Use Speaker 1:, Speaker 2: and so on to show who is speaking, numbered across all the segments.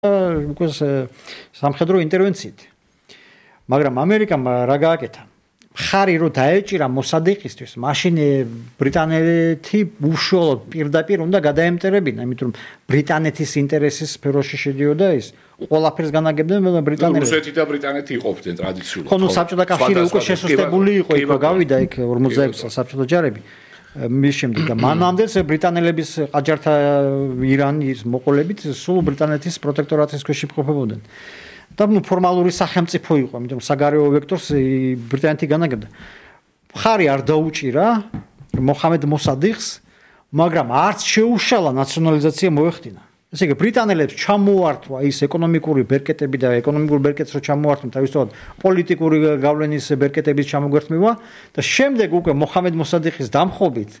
Speaker 1: უკვე სამხედრო ინტერვენციით. მაგრამ ამერიკამ რა გააკეთა? ხარი რო დაეჭირა მოსადიყისთვის, მაშინ ბრიტანეთი უშუალოდ პირდაპირ უნდა გადაემტერებინა, იმიტომ რომ ბრიტანეთის ინტერესის სფეროში შედიოდა ის. ყველაფერს განაგებდნენ ბრიტანელები.
Speaker 2: რუსეთი და ბრიტანეთი იყოფდნენ ტრადიციულად.
Speaker 1: ხო, საბჭოთა კავშირი უკვე შესუსტებული იყო, იქ გავიდა იქ 46 საბჭოთა ჯარები. მის შემდეგ და მანამდეც ბრიტანელების ყაჯართა ირანის მოყოლებით სულ ბრიტანეთის პროტექტორატის ქვეშ იმყოფებოდნენ. და ფორმალური სახელმწიფო იყო, იმიტომ რომ საგარეო ვექტორს ბრიტანეთი განაგებდა. ხარი არ დაუჭირა მოხამედ მოსადიხს, მაგრამ არც შეუშალა ნაციონალიზაცია მოეხდინა. ესე იგი ბრიტანელებს ჩამოართვა ის ეკონომიკური ბერკეტები და ეკონომიკურ ბერკეტს რო ჩამოართვენ თავისთავად პოლიტიკური გავლენის ბერკეტების ჩამოგვერთმევა და შემდეგ უკვე მოხამედ მოსადიხის დამხობით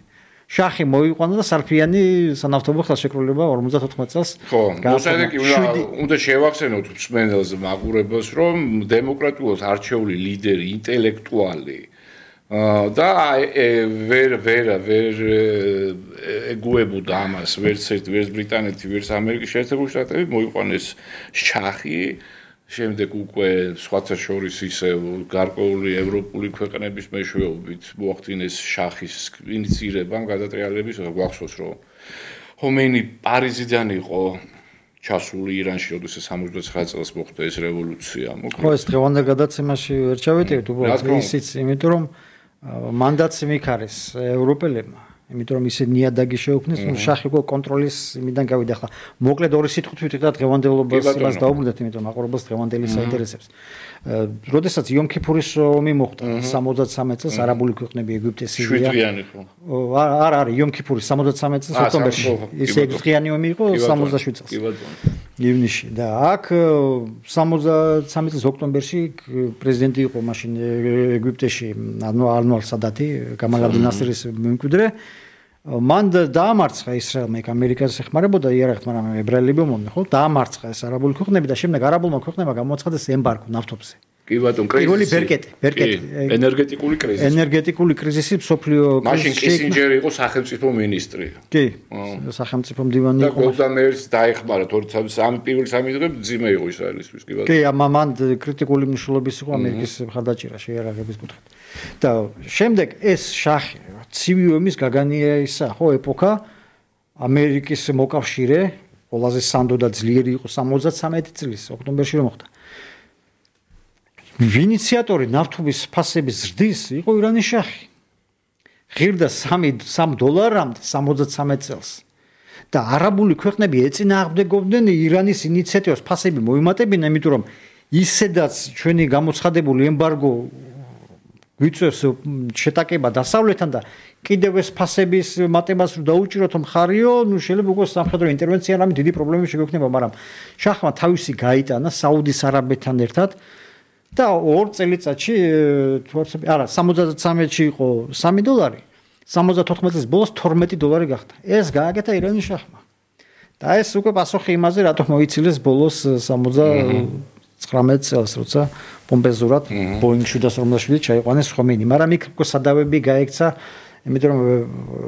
Speaker 1: შახი მოიყვანა და სარფიანი სანავთობო ხელშეკრულება 54 წელს.
Speaker 2: ხო, მოსადიხი უნდა შევახსენოთ მსმენელს მაყურებელს, რომ დემოკრატიულად არჩეული ლიდერი, ინტელექტუალი და ვერ ეგუებოდა ამას ვერც ბრიტანეთი, ვერც ამერიკის შეერთებული შტატები მოიყვანეს შახი, შემდეგ უკვე სხვათა შორის ისევ გარკვეული ევროპული ქვეყნების მეშვეობით მოახდინეს შახის ინიციირებამ გადატრიალების, გვახსოვს რომ ხომეინი პარიზიდან იყო ჩასული ირანში, როდესაც 69 წელს მოხდა ეს რევოლუცია.
Speaker 1: ხო, ეს დღევანდელ გადაცემაში ვერ ჩავეტევით, უბრალოდ ისიც, იმიტომ რომ მანდატს მიქარეს ევროპელებმა, იმიტომ რომ ისე ნიადაგი შეუქმნეს, შახი უკვე კონტროლის იმიდან გავიდა. ახლა მოკლედ ორი სიტყვით ვიტყვით და დღევანდელობას იმას დაუბრუნდეთ, იმიტომ მაყურებელს დღევანდელი საინტერესებს. როდესაც იომ-ქიფურის ომი მოხდა 73 წელს არაბული ქვეყნები ეგვიპტე, სირია.
Speaker 2: 7 დღიანი ხო?
Speaker 1: არა, იომ-ქიფურის 73 წელს ოქტომბერში. ის 6 დღიანი ომი იყო 77 წელს. ივნისში და აქ 73 წელს ოქტომბერში პრეზიდენტი იყო მაშინ ეგვიპტეში ანვარ სადათი, გამალ აბდულ ნასრის მემკვიდრე. მან დაამარცხა ისრაელმა, იქ ამერიკას ეხმარებოდა იარაღით, მაგრამ ებრაელები მომდნენ, ხო? დაამარცხა ეს არაბული ქვეყნები და შემდეგ არაბულმა ქვეყნებმა გამოაცხადეს ემბარგო ნავთობზე.
Speaker 2: კი ბატონო,
Speaker 1: პირველი ბერკეტი.
Speaker 2: ენერგეტიკული კრიზისი.
Speaker 1: ენერგეტიკული კრიზისი მსოფლიო
Speaker 2: მაშინ კისინჯერი იყო სახელმწიფო მინისტრი.
Speaker 1: კი, სახელმწიფო მდივანი იყო.
Speaker 2: და გოლდა მეირს დაეხმარა, თორემ პირველი 3 დღე ძიმე იყო ისრაელისთვის, კი ბატონო.
Speaker 1: კი, მან კრიტიკული მნიშვნელობის იყო ამერიკის მხარდაჭერა შეიარაღების კუთხით. და შემდეგ ეს შახი ცივი ომის გაგანია ისა, ხო, ეპოქა ამერიკის მოკავშირე, ყველაზე სანდო და ძლიერი იყო 73 წლის ოქტომბერში რომ მოხდა. ინიციატორი ნავთობის ფასების ზრდის იყო ირანის შახი. ღირდა $3 73 წელს. და არაბული ქვეყნები ეწინააღმდეგობდნენ ირანის ინიციატივას ფასები მოიმატებინა, იმიტომ რომ ისედაც ჩვენი გამოცხადებული ემბარგო გვიწევს შეტაკება დასავლეთთან და კიდევ ეს ფასების მატებას რო დაუჭიროთ მხარიო, შეიძლება უკვე სამხედრო ინტერვენცია რამე დიდი პრობლემები შეგვექნება, მაგრამ შახმა თავისი გაიტანა საუდის არაბეთთან ერთად და 2 წელიწადში არა 73-ში იყო $3, 74 წლის ბოლოს $12 გახდა. ეს გააკეთა ირანის შახმა. და ეს უკვე პასუხი იმაზე, რატომ მოიცილეს ბოლოს 79 წელს, როცა პომპეზურად Boeing 747 ჩაიყვანეს ხომეინი, მაგრამ იქ უკვე სადავები გაექცა, იმიტომ რომ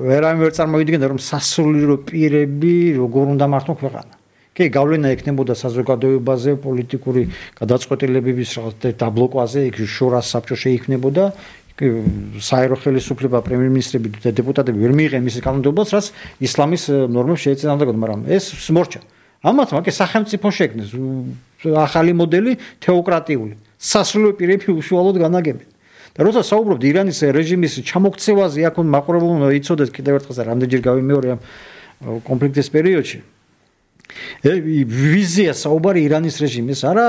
Speaker 1: ვერ წარმოიდგენდა რომ სასულიერო პირები როგორ უნდა მართონ ქვეყანა. კი, გავლენა ექნებოდა საზოგადოებაზე, პოლიტიკური გადაწყვეტილებების დაბლოკვაზე, იქ შორას საბჭო შეიქმნებოდა, საერო ხელისუფლება, პრემიერ-მინისტრები და დეპუტატები ვერ მიიღენ მის კანონმდებლობას, რაც ისლამის ნორმებს შეეწინააღმდეგებოდა, მაგრამ ეს смორჩა. ამათმა კი სახელმწიფო შექმნეს ახალი მოდელი თეოკრატიული. სასულიერო პირები უშუალოდ განაგებენ. და როცა საუბრობთ ირანის რეჟიმის ჩამოქცევაზე, აქ მაყურებელმა იცოდეს კიდევ ერთხელ და რამდენჯერ გავიმეორე ამ კონფლიქტის პერიოდში. ვიზია საუბარი ირანის რეჟიმის, არა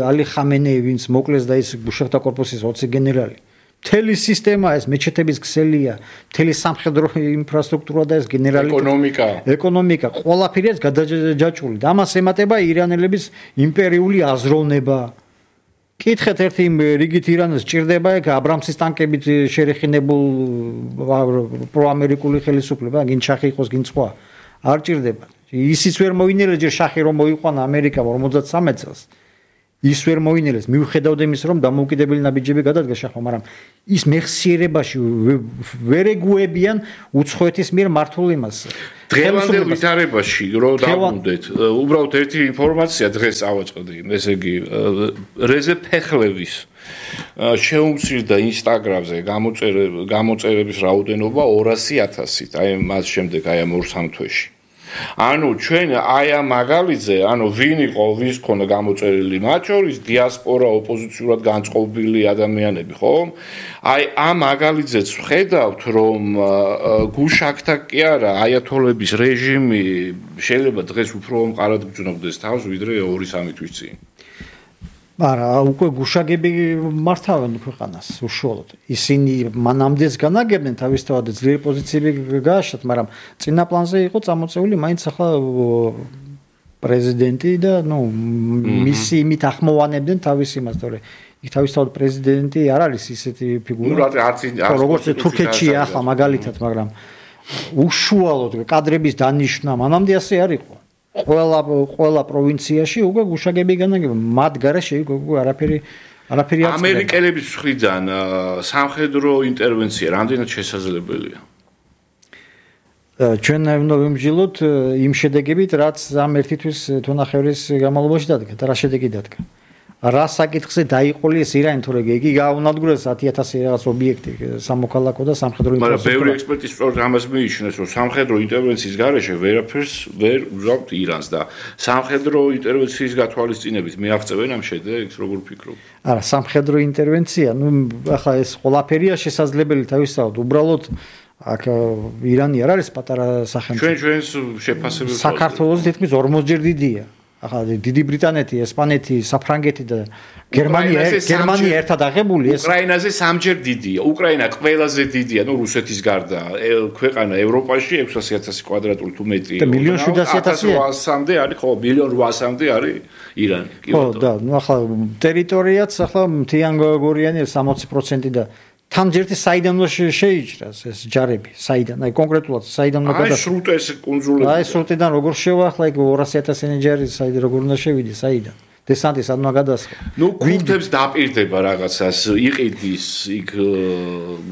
Speaker 1: ალი ხამენეი, ვინც მოკლეს და ის ბუშახთა კორპუსის 20 გენერალი. მთელი სისტემა ეს მეჩეთების ქსელია, მთელი სამხედრო ინფრასტრუქტურა და ეს გენერალი ეკონომიკა, ყველაფერი ეს გადაჯაჭვული. და ამას ემატება ირანელების იმპერიული აზროვნება. კითხეთ ერთი რიგით ირანს ჭირდება ეგ აბრამსის ტანკებით შერეხინებულ პროამერიკული ხელისუფლება, გინ შახი იყოს, გინ სხვა. არ ჭირდება. ისიც ვერ მოინერეს ჯერ შახი რომ მოიყვანა ამერიკა 53 წელს. ის ვერ მოინელეს მიუხედავად იმის რომ დამოუკიდებელი ნაბიჯები გადადგა შახმა, მაგრამ ის მეხსიერებაში ვერ ეგუებიან უცხოეთის მიერ მართულ იმას.
Speaker 2: დღევანდელ ვითარებაში რო დავუნდეთ, უბრალოდ ერთი ინფორმაცია დღეს ავაწყდი, ესე იგი რეზე ფეხლევის შეუმცირდა ინსტაგრამზე გამოწერების რაოდენობა 200,000-ით, აი მას შემდეგ აი ამ 2-3 თვეში. ანუ ჩვენ აი ამ მაგალითზე, ანუ ვინ იყო, ვის ქონდა გამოწერილი, მათ შორის დიასპორა, ოპოზიციურად განწყობილი ადამიანები, ხო? აი ამ მაგალითზეც ვხედავთ, რომ გუშაქთა კი არა, აიათოლების რეჟიმი შეიძლება დღეს უფრო მყარად გძნობდეს თავს, ვიდრე 2-3 თვის წინ.
Speaker 1: არა, უკვე გუშაგები მართავენ ქვეყანას უშუალოდ. ისინი მანამდეც განაგებდნენ თავისთავად ძლიერი პოზიციები გააშათ, მაგრამ წინა პლანზე იყო წამოწეული მაინც ახლა პრეზიდენტი და მისი იმით ახმოვანებდნენ თავის იმას, თორე იქ თავისთავად პრეზიდენტი არ არის ისეთი ფიგურა. როგორც თურქეთში ახლა მაგალითად, მაგრამ უშუალოდ კადრების დანიშვნა მანამდე ასე არ იყო. ყველა პროვინციაში უკვე გუშაგები განაგებდნენ, მათ გარეშე უკვე არაფერი არ
Speaker 2: ამერიკელების მხრიდან სამხედრო ინტერვენცია რამდენად შესაძლებელია?
Speaker 1: ჩვენ უნდა ვიმსჯელოთ იმ შედეგებით, რაც ამ ერთი თვის თუნახევრის განმავლობაში დადგა და რა შედეგი დადგა. რა საკითხზე დაიყოლეს ირანი, თორე იგი გააუნადგურეს 10,000 რაღაც ობიექტი სამოქალაქო და სამხედრო
Speaker 2: ინტერვენციის. მაგრამ ბევრი ექსპერტი სწორედ ამას მიიჩნევს, რომ სამხედრო ინტერვენციის გარეშე ვერაფერს ვერ უზავთ ირანს და სამხედრო ინტერვენციის გათვალისწინებით მიაღწევენ ამ შედეგს, როგორ ფიქრობ?
Speaker 1: არა, სამხედრო ინტერვენცია, ახლა ეს ყველაფერია შესაძლებელი თავისთავად, უბრალოდ აქ ირანი არ არის პატარა სახელმწიფო.
Speaker 2: ჩვენს შეფასებებს
Speaker 1: საქართველოს თითქმის 40-ჯერ დიდია. ახლა დიდი ბრიტანეთი, ესპანეთი, საფრანგეთი და გერმანია ერთად აღებული
Speaker 2: ეს უკრაინაზე 3-ჯერ დიდია. უკრაინა ყველაზე დიდია, რუსეთის გარდა. ქვეყანა ევროპაში 600,000 კვადრატული თუ მეტი.
Speaker 1: და 1,700,000-მდე
Speaker 2: არის, ხო, 1,800,000-მდე არის ირანი.
Speaker 1: ხო, და ახლა ტერიტორიაც ახლა მთიან გორიანი 60% და თან-ჯერტი საიდან შეიჭრას ეს ჯარები, საიდან, აი კონკრეტულად საიდან უნდა
Speaker 2: გადასცეს. აი სრუტეს კუნძულები.
Speaker 1: აი სრუტიდან როგორ შევა, ახლა იქ 200,000 ჯარი საიდან როგორ უნდა შევიდეს, საიდან? დესანტი სად უნდა გადასხა?
Speaker 2: კურთებს დაპირდება რაღაცას, იყიდის იქ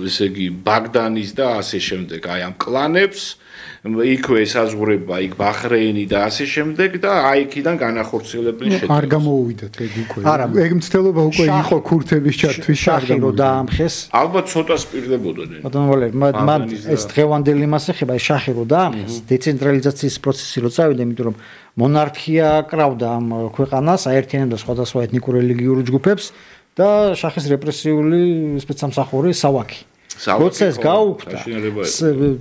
Speaker 2: ესე იგი ბაგდანის და ასე შემდეგ, აი ამ კლანებს იქვე ესაზღვრება იქ ბაჰრეინი და ასე შემდეგ და აი იქიდან განახორციელებელი შედეგი.
Speaker 3: არ გამოუვიდათ ეგ უკვე. არა, ეგ მცდელობა უკვე იყო ქურთების ჩართვის
Speaker 1: შახი რო დაამხეს.
Speaker 2: ალბათ ცოტა სპირდებოდნენ.
Speaker 1: ბატონო, მან ეს დღევანდელი მას ეხება, შახი რო დაამხეს, დეცენტრალიზაციის პროცესი რო წავიდა, იმიტომ რომ მონარქია კრავდა ამ ქვეყანას, აერთიანებდა სხვადასხვა ეთნიკურ რელიგიურ ჯგუფებს და შახის რეპრესიული სპეცსამსახური სავაკი. როცა ეს გაუქმდა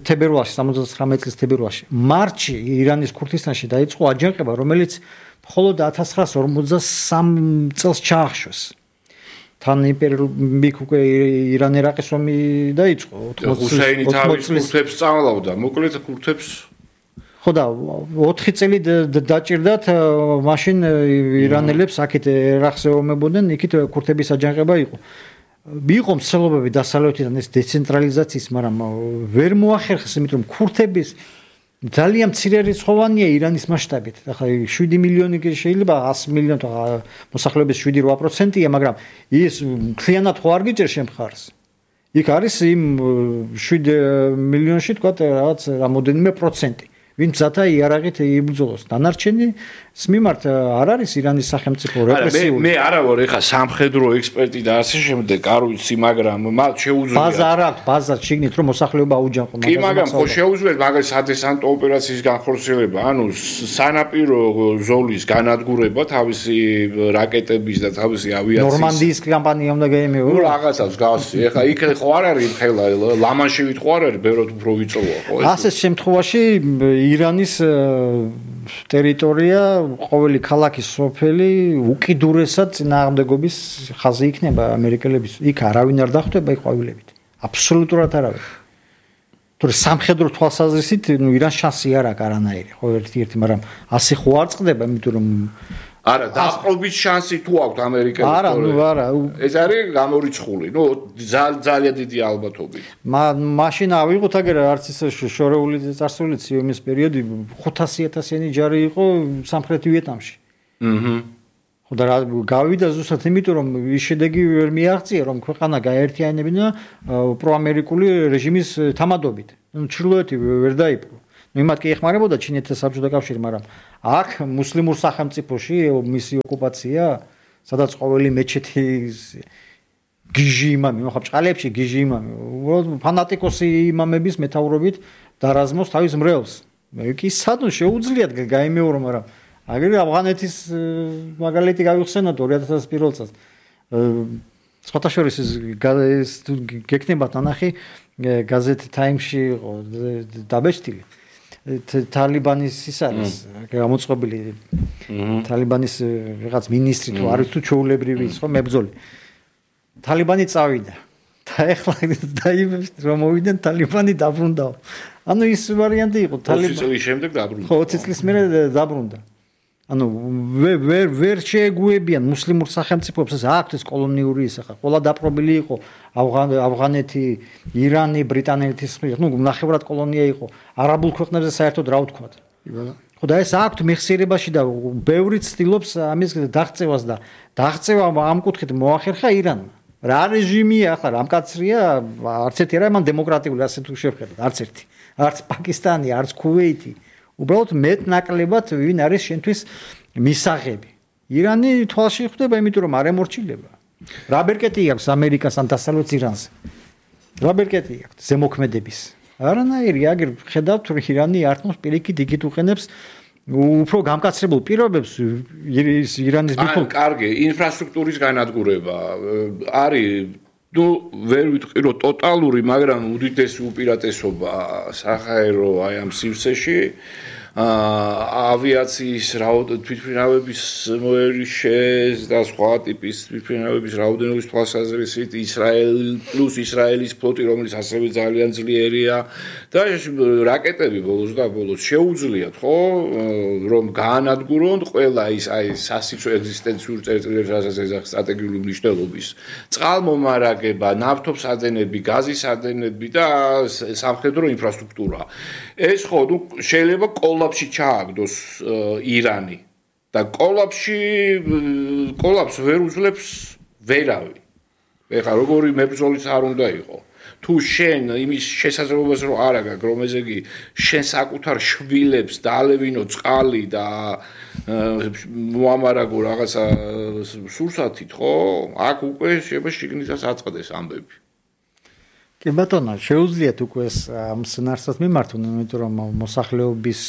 Speaker 1: თებერვალში 79 წლის თებერვალში მარტში ირანის ქურთისტანში დაიწყო აჯანყება, რომელიც მხოლოდ 1953 წელს ჩაახშვეს. თან იმპერიუმი უკვე ირან-ერაყის ომი დაიწყო
Speaker 2: 80 წლის ქურთებს სწავლობდა, მოკლედ ქურთებს
Speaker 1: ხო და 4 წელი დაჭირდათ, მაშინ ირანელებს აქეთ ერაყზე ომებოდნენ, იქით ქურთების აჯანყება იყო. იყო მსვლელობები დასავლეთიდან ეს დეცენტრალიზაციის, მაგრამ ვერ მოახერხეს, იმიტომ რომ ქურთების ძალიან მცირე რიცხოვანია ირანის მასშტაბით. ახლა 7 მილიონი შეიძლება 100 მილიონი მოსახლეობის 7-8%-ია, მაგრამ ის მთლიანად ხო არ გიჭერს შემხარს. იქ არის იმ 7 მილიონში თქვა რაღაც რამოდენიმე პროცენტი. ვინც ზათა იარაღით იბრძოლოს. დანარჩენი მიმართ არ არის ირანის სახელმწიფო რეპრესიული.
Speaker 2: მე არა ვარ ეხა სამხედრო ექსპერტი და ასე შემდეგ, არ ვიცი, მაგრამ მათ შეუძლია.
Speaker 1: ბაზა არ აქვს, ბაზა შიგნით რომ მოსახლეობა აუჯანყო.
Speaker 2: კი, მაგრამ ხო შეუძლია მაგალითად სადესანტო ოპერაციის განხორციელება, ანუ სანაპირო ზოლის განადგურება თავისი რაკეტების და თავისი ავიაციის.
Speaker 1: ნორმანდიის კამპანია უნდა გაემეო.
Speaker 2: რაღაცას გავსი. ეხა იქ ხო არ არის ხელა, ლამანშივით ხო არ არის, ბევრად უფრო ვიწროა ხო ეს.
Speaker 1: ასეთ შემთხვევაში ირანის ტერიტორია, ყოველი ქალაქის სოფელი უკიდურესად წინააღმდეგობის ხაზი იქნება ამერიკელების. იქ არავინ არ დახვდება იქ ყვავილებით. აბსოლუტურად არავინ. თორე სამხედრო თვალსაზრისით ირანს შანსი არ აქვს არანაირი. ხო ერთ-ერთი, მაგრამ ასე ხო არ წყდება, იმიტომ რომ
Speaker 2: არა, დაყრობის შანსი თუ აქვს ამერიკელებს?
Speaker 1: არა, არა.
Speaker 2: ეს არის გამორიცხული. ძალიან დიდი ალბათობით.
Speaker 1: მაშინ ავიღოთ აგერ არც ის შორეული წარსული ციომის პერიოდი 500,000-იანი ჯარი იყო სამხრეთ ვიეტნამში. ხო და გავიდა ზუსტად იმიტომ რომ ის შედეგი ვერ მიაღწია რომ ქვეყანა გაერთიანებინა პროამერიკული რეჟიმის თამადობით. ნუ ჩრდილოეთი ვერ დაიპყრო. ნუ იმათ კი ეხმარებოდა ჩინეთთან საბჭოთა კავშირი, მაგრამ აქ მუსლიმურ სახელმწიფოში მისი ოკუპაცია, სადაც ყოველი მეჩეთის გიჟი იმამი, ხო ბჭყალებში გიჟი იმამი, უბრალოდ ფანატიკოსი იმამების მეთაურობით დარაზმოს თავის მრევლს. მე კი სადღაც შეუძლიათ გაიმეორო, მაგრამ აგერ ავღანეთის მაგალითი გავიხსენოთ 2001 წელს. სხვათა შორის ეს გეკნებათ ნანახი გაზეთ Times-ში იყო დაბეჭდილი. თალიბანის ის არის გამოწყობილი თალიბანის რაღაც მინისტრი თუ არის თუ ჩაულებრივი ის ხო მებრძოლი. თალიბანი წავიდა. და ეხლა დაიბებს რომ მოვიდნენ თალიბანი დაბრუნდაო. ანუ ის ვარიანტი იყო
Speaker 2: თალიბანი 20 წლის შემდეგ დაბრუნდა.
Speaker 1: ხო 20 წლის მერე დაბრუნდა. ანუ ვერ შეეგუებიან მუსლიმურ სახელმწიფოებს ეს აქვთ ეს კოლონიური ის ახლა ყველა დაპყრობილი იყო ავღანეთი, ირანი, ბრიტანეთის ну ნახევრად კოლონია იყო არაბულ ქვეყნებზე საერთოდ რა ვთქვათ. ხო და ეს აქვთ მეხსიერებაში და ბევრი ცდილობს ამის დაღწევას და დაღწევა ამ კუთხით მოახერხა ირანმა. რა რეჟიმია ახლა რამ კაცრია არც ერთი არა მან დემოკრატიული ასე თუ შევხედოთ არც ერთი არც პაკისტანი არც ქუვეითი უბრალოდ მეტ ნაკლებად ვინ არის შენთვის მისაღები ირანი თვალში ხვდება იმიტომ რომ არ ემორჩილება რა ბერკეტი აქვს ამერიკას ან დასავლეთ ირანზე რა ბერკეტი აქვს ზემოქმედების არანაირი აგერ ხედავთ რომ ირანი არტმოს პირიქით იქით უყენებს უფრო გამკაცრებულ პირობებს ირანის ბიძგო
Speaker 2: კარგი ინფრასტრუქტურის განადგურება არის ну ვერ ვიტყვი რომ ტოტალური მაგრამ უდიდესი უპირატესობა საჰაერო აი ამ სივრცეში ავიაციის თვითმფრინავების მოერიშეს და სხვა ტიპის თვითმფრინავების რაოდენობის თვალსაზრისით ისრაელის ფლოტი რომელიც ასევე ძალიან ძლიერია და რაკეტები ბოლოს შეუძლიათ ხო რომ გაანადგურონ ყველა ის აი სასიცოცხლო ეგზისტენციურ წერტილებს რასაც ეძახის სტრატეგიული მნიშვნელობის წყალმომარაგება, ნავთობსადენები, გაზისადენები და სამხედრო ინფრასტრუქტურა ეს ხო ნუ შეიძლება კოლაფსში ჩააგდოს ირანი და კოლაფს ვერ უძლებს ვერავი. ეხლა როგორი მებრძოლიც არ უნდა იყო. თუ შენ იმის შესაძლებლობას რო არ აქვს, რომ ესე იგი შენ საკუთარ შვილებს დაალევინო წყალი და მოამარაგო რაღაცა სურსათით, ხო? აქ უკვე შეიძლება შიგნითაც აწყდეს ამბები.
Speaker 1: კი ბატონო, შეუძლიათ უკვე ამ სცენარსაც მიმართონ, იმიტომ რომ მოსახლეობის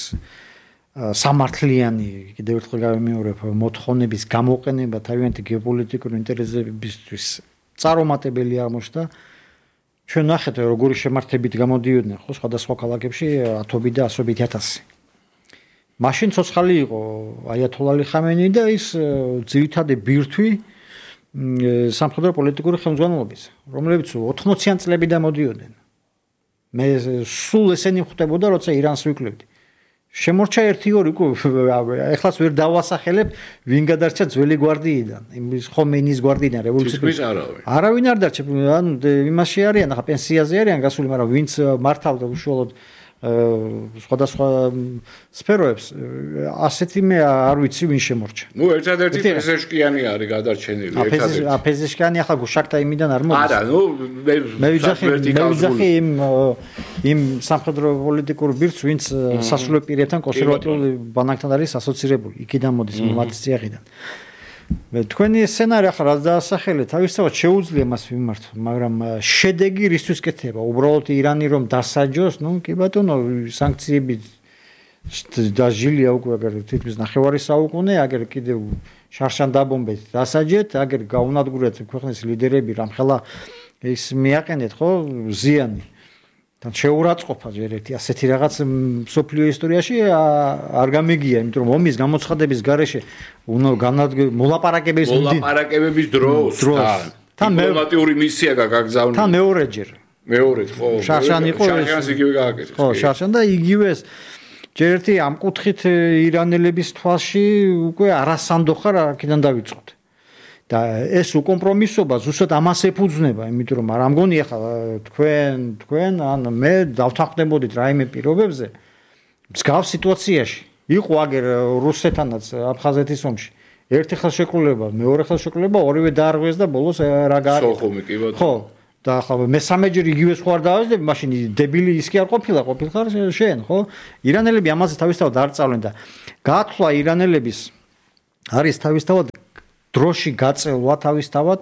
Speaker 1: სამართლიანი კიდევ ერთხელ გავიმეორებ მოთხოვნების გამოყენება თავიანთი გეოპოლიტიკური ინტერესებისთვის წარუმატებელი აღმოჩნდა. ჩვენ ნახეთ როგორი შემართებით გამოდიოდნენ ხო სხვადასხვა ქალაქებში ათობით და ასობით ათასი. მაშინ ცოცხალი იყო აიათოლა ალი ხამენი და ის ძირითადი ბირთვი სამხედრო პოლიტიკური ხელმძღვანელობის, რომლებიც 80-იან წლებიდან მოდიოდნენ. მე სულ ესენი ხვდებოდა, როცა ირანს ვიკლებდი. შემორჩა 1-2 ეხლაც ვერ დავასახელებ ვინ გადარჩა ძველი გვარდიიდან იმის ხომეინის გვარდიიდან რევოლუციის არავინ არ დარჩა ანუ იმაში არიან ახლა პენსიაზე არიან გასული მაგრამ ვინც მართავდა უშუალოდ სხვადასხვა სფეროებს ასეთი მე არ ვიცი ვინ შემორჩა
Speaker 2: ნუ ერთადერთი პეზეშკიანი არის გადარჩენილი
Speaker 1: ერთადერთი პეზეშკიანი ახლა გუშაკთა იმიდან არ მოდის
Speaker 2: არა ნუ
Speaker 1: მე ვიძახი იმ სამხედრო პოლიტიკურ ბირთვს ვინც სასულე პირებთან კონსერვატიული ბანაკთან არის ასოცირებული იქიდან მოდის მათი წიაღიდან თქვენი სცენარი ახლა რაც დაასახელეთ თავისთავად შეუძლია მას მიმართო მაგრამ შედეგი რისთვის კეთება უბრალოდ ირანი რომ დასაჯოს ნუ კი ბატონო სანქციები დაჟილია უკვე აგერ თითქმის ნახევარი საუკუნე აგერ კიდევ შარშან დაბომბეთ დასაჯეთ აგერ გაუნადგურეთ ქვეყნის ლიდერები რამხელა ის მიაყენეთ ხო ზიანი თან შეურაცხყოფა ჯერ ერთი ასეთი რაღაც სოფლიო ისტორიაში არ გამიგია იმიტომ რომ ომის გამოცხადების გარეშე უნდა
Speaker 2: მოლაპარაკებების დროს თან დიპლომატიური მისია გაგზავნილი
Speaker 1: თან მეორეჯერ
Speaker 2: ხო
Speaker 1: შარშან იყო
Speaker 2: შარშანს იგივე გააკეთეს
Speaker 1: ხო შარშან და იგივე ჯერ ერთი ამ კუთხით ირანელების თვალში უკვე არასანდოხარ აქედან დავიწყოთ და ეს უკომპრომისობა ზუსტად ამას ეფუძნება, იმიტომ რომ არ მგონი ახლა თქვენ ან მე დავთანხმდებოდით რაიმე პირობებზე მსგავს სიტუაციაში. იყო აგერ რუსეთანაც აფხაზეთის ომში. ერთი ხელშეკრულება, მეორე ხელშეკრულება, ორივე დაარღვიეს და ბოლოს რა გააკეთა.
Speaker 2: სოხუმი კი ბატონო.
Speaker 1: ხო, და ახლა მესამეჯერ იგივე სხვა არ დავაძდები, მაშინ დებილი ის კი არ ყოფილხარ შენ, ხო? ირანელები ამაზე თავისთავად არ წავლენ და გაათვლა ირანელების არის თავისთავად დროში გაწელვა თავისთავად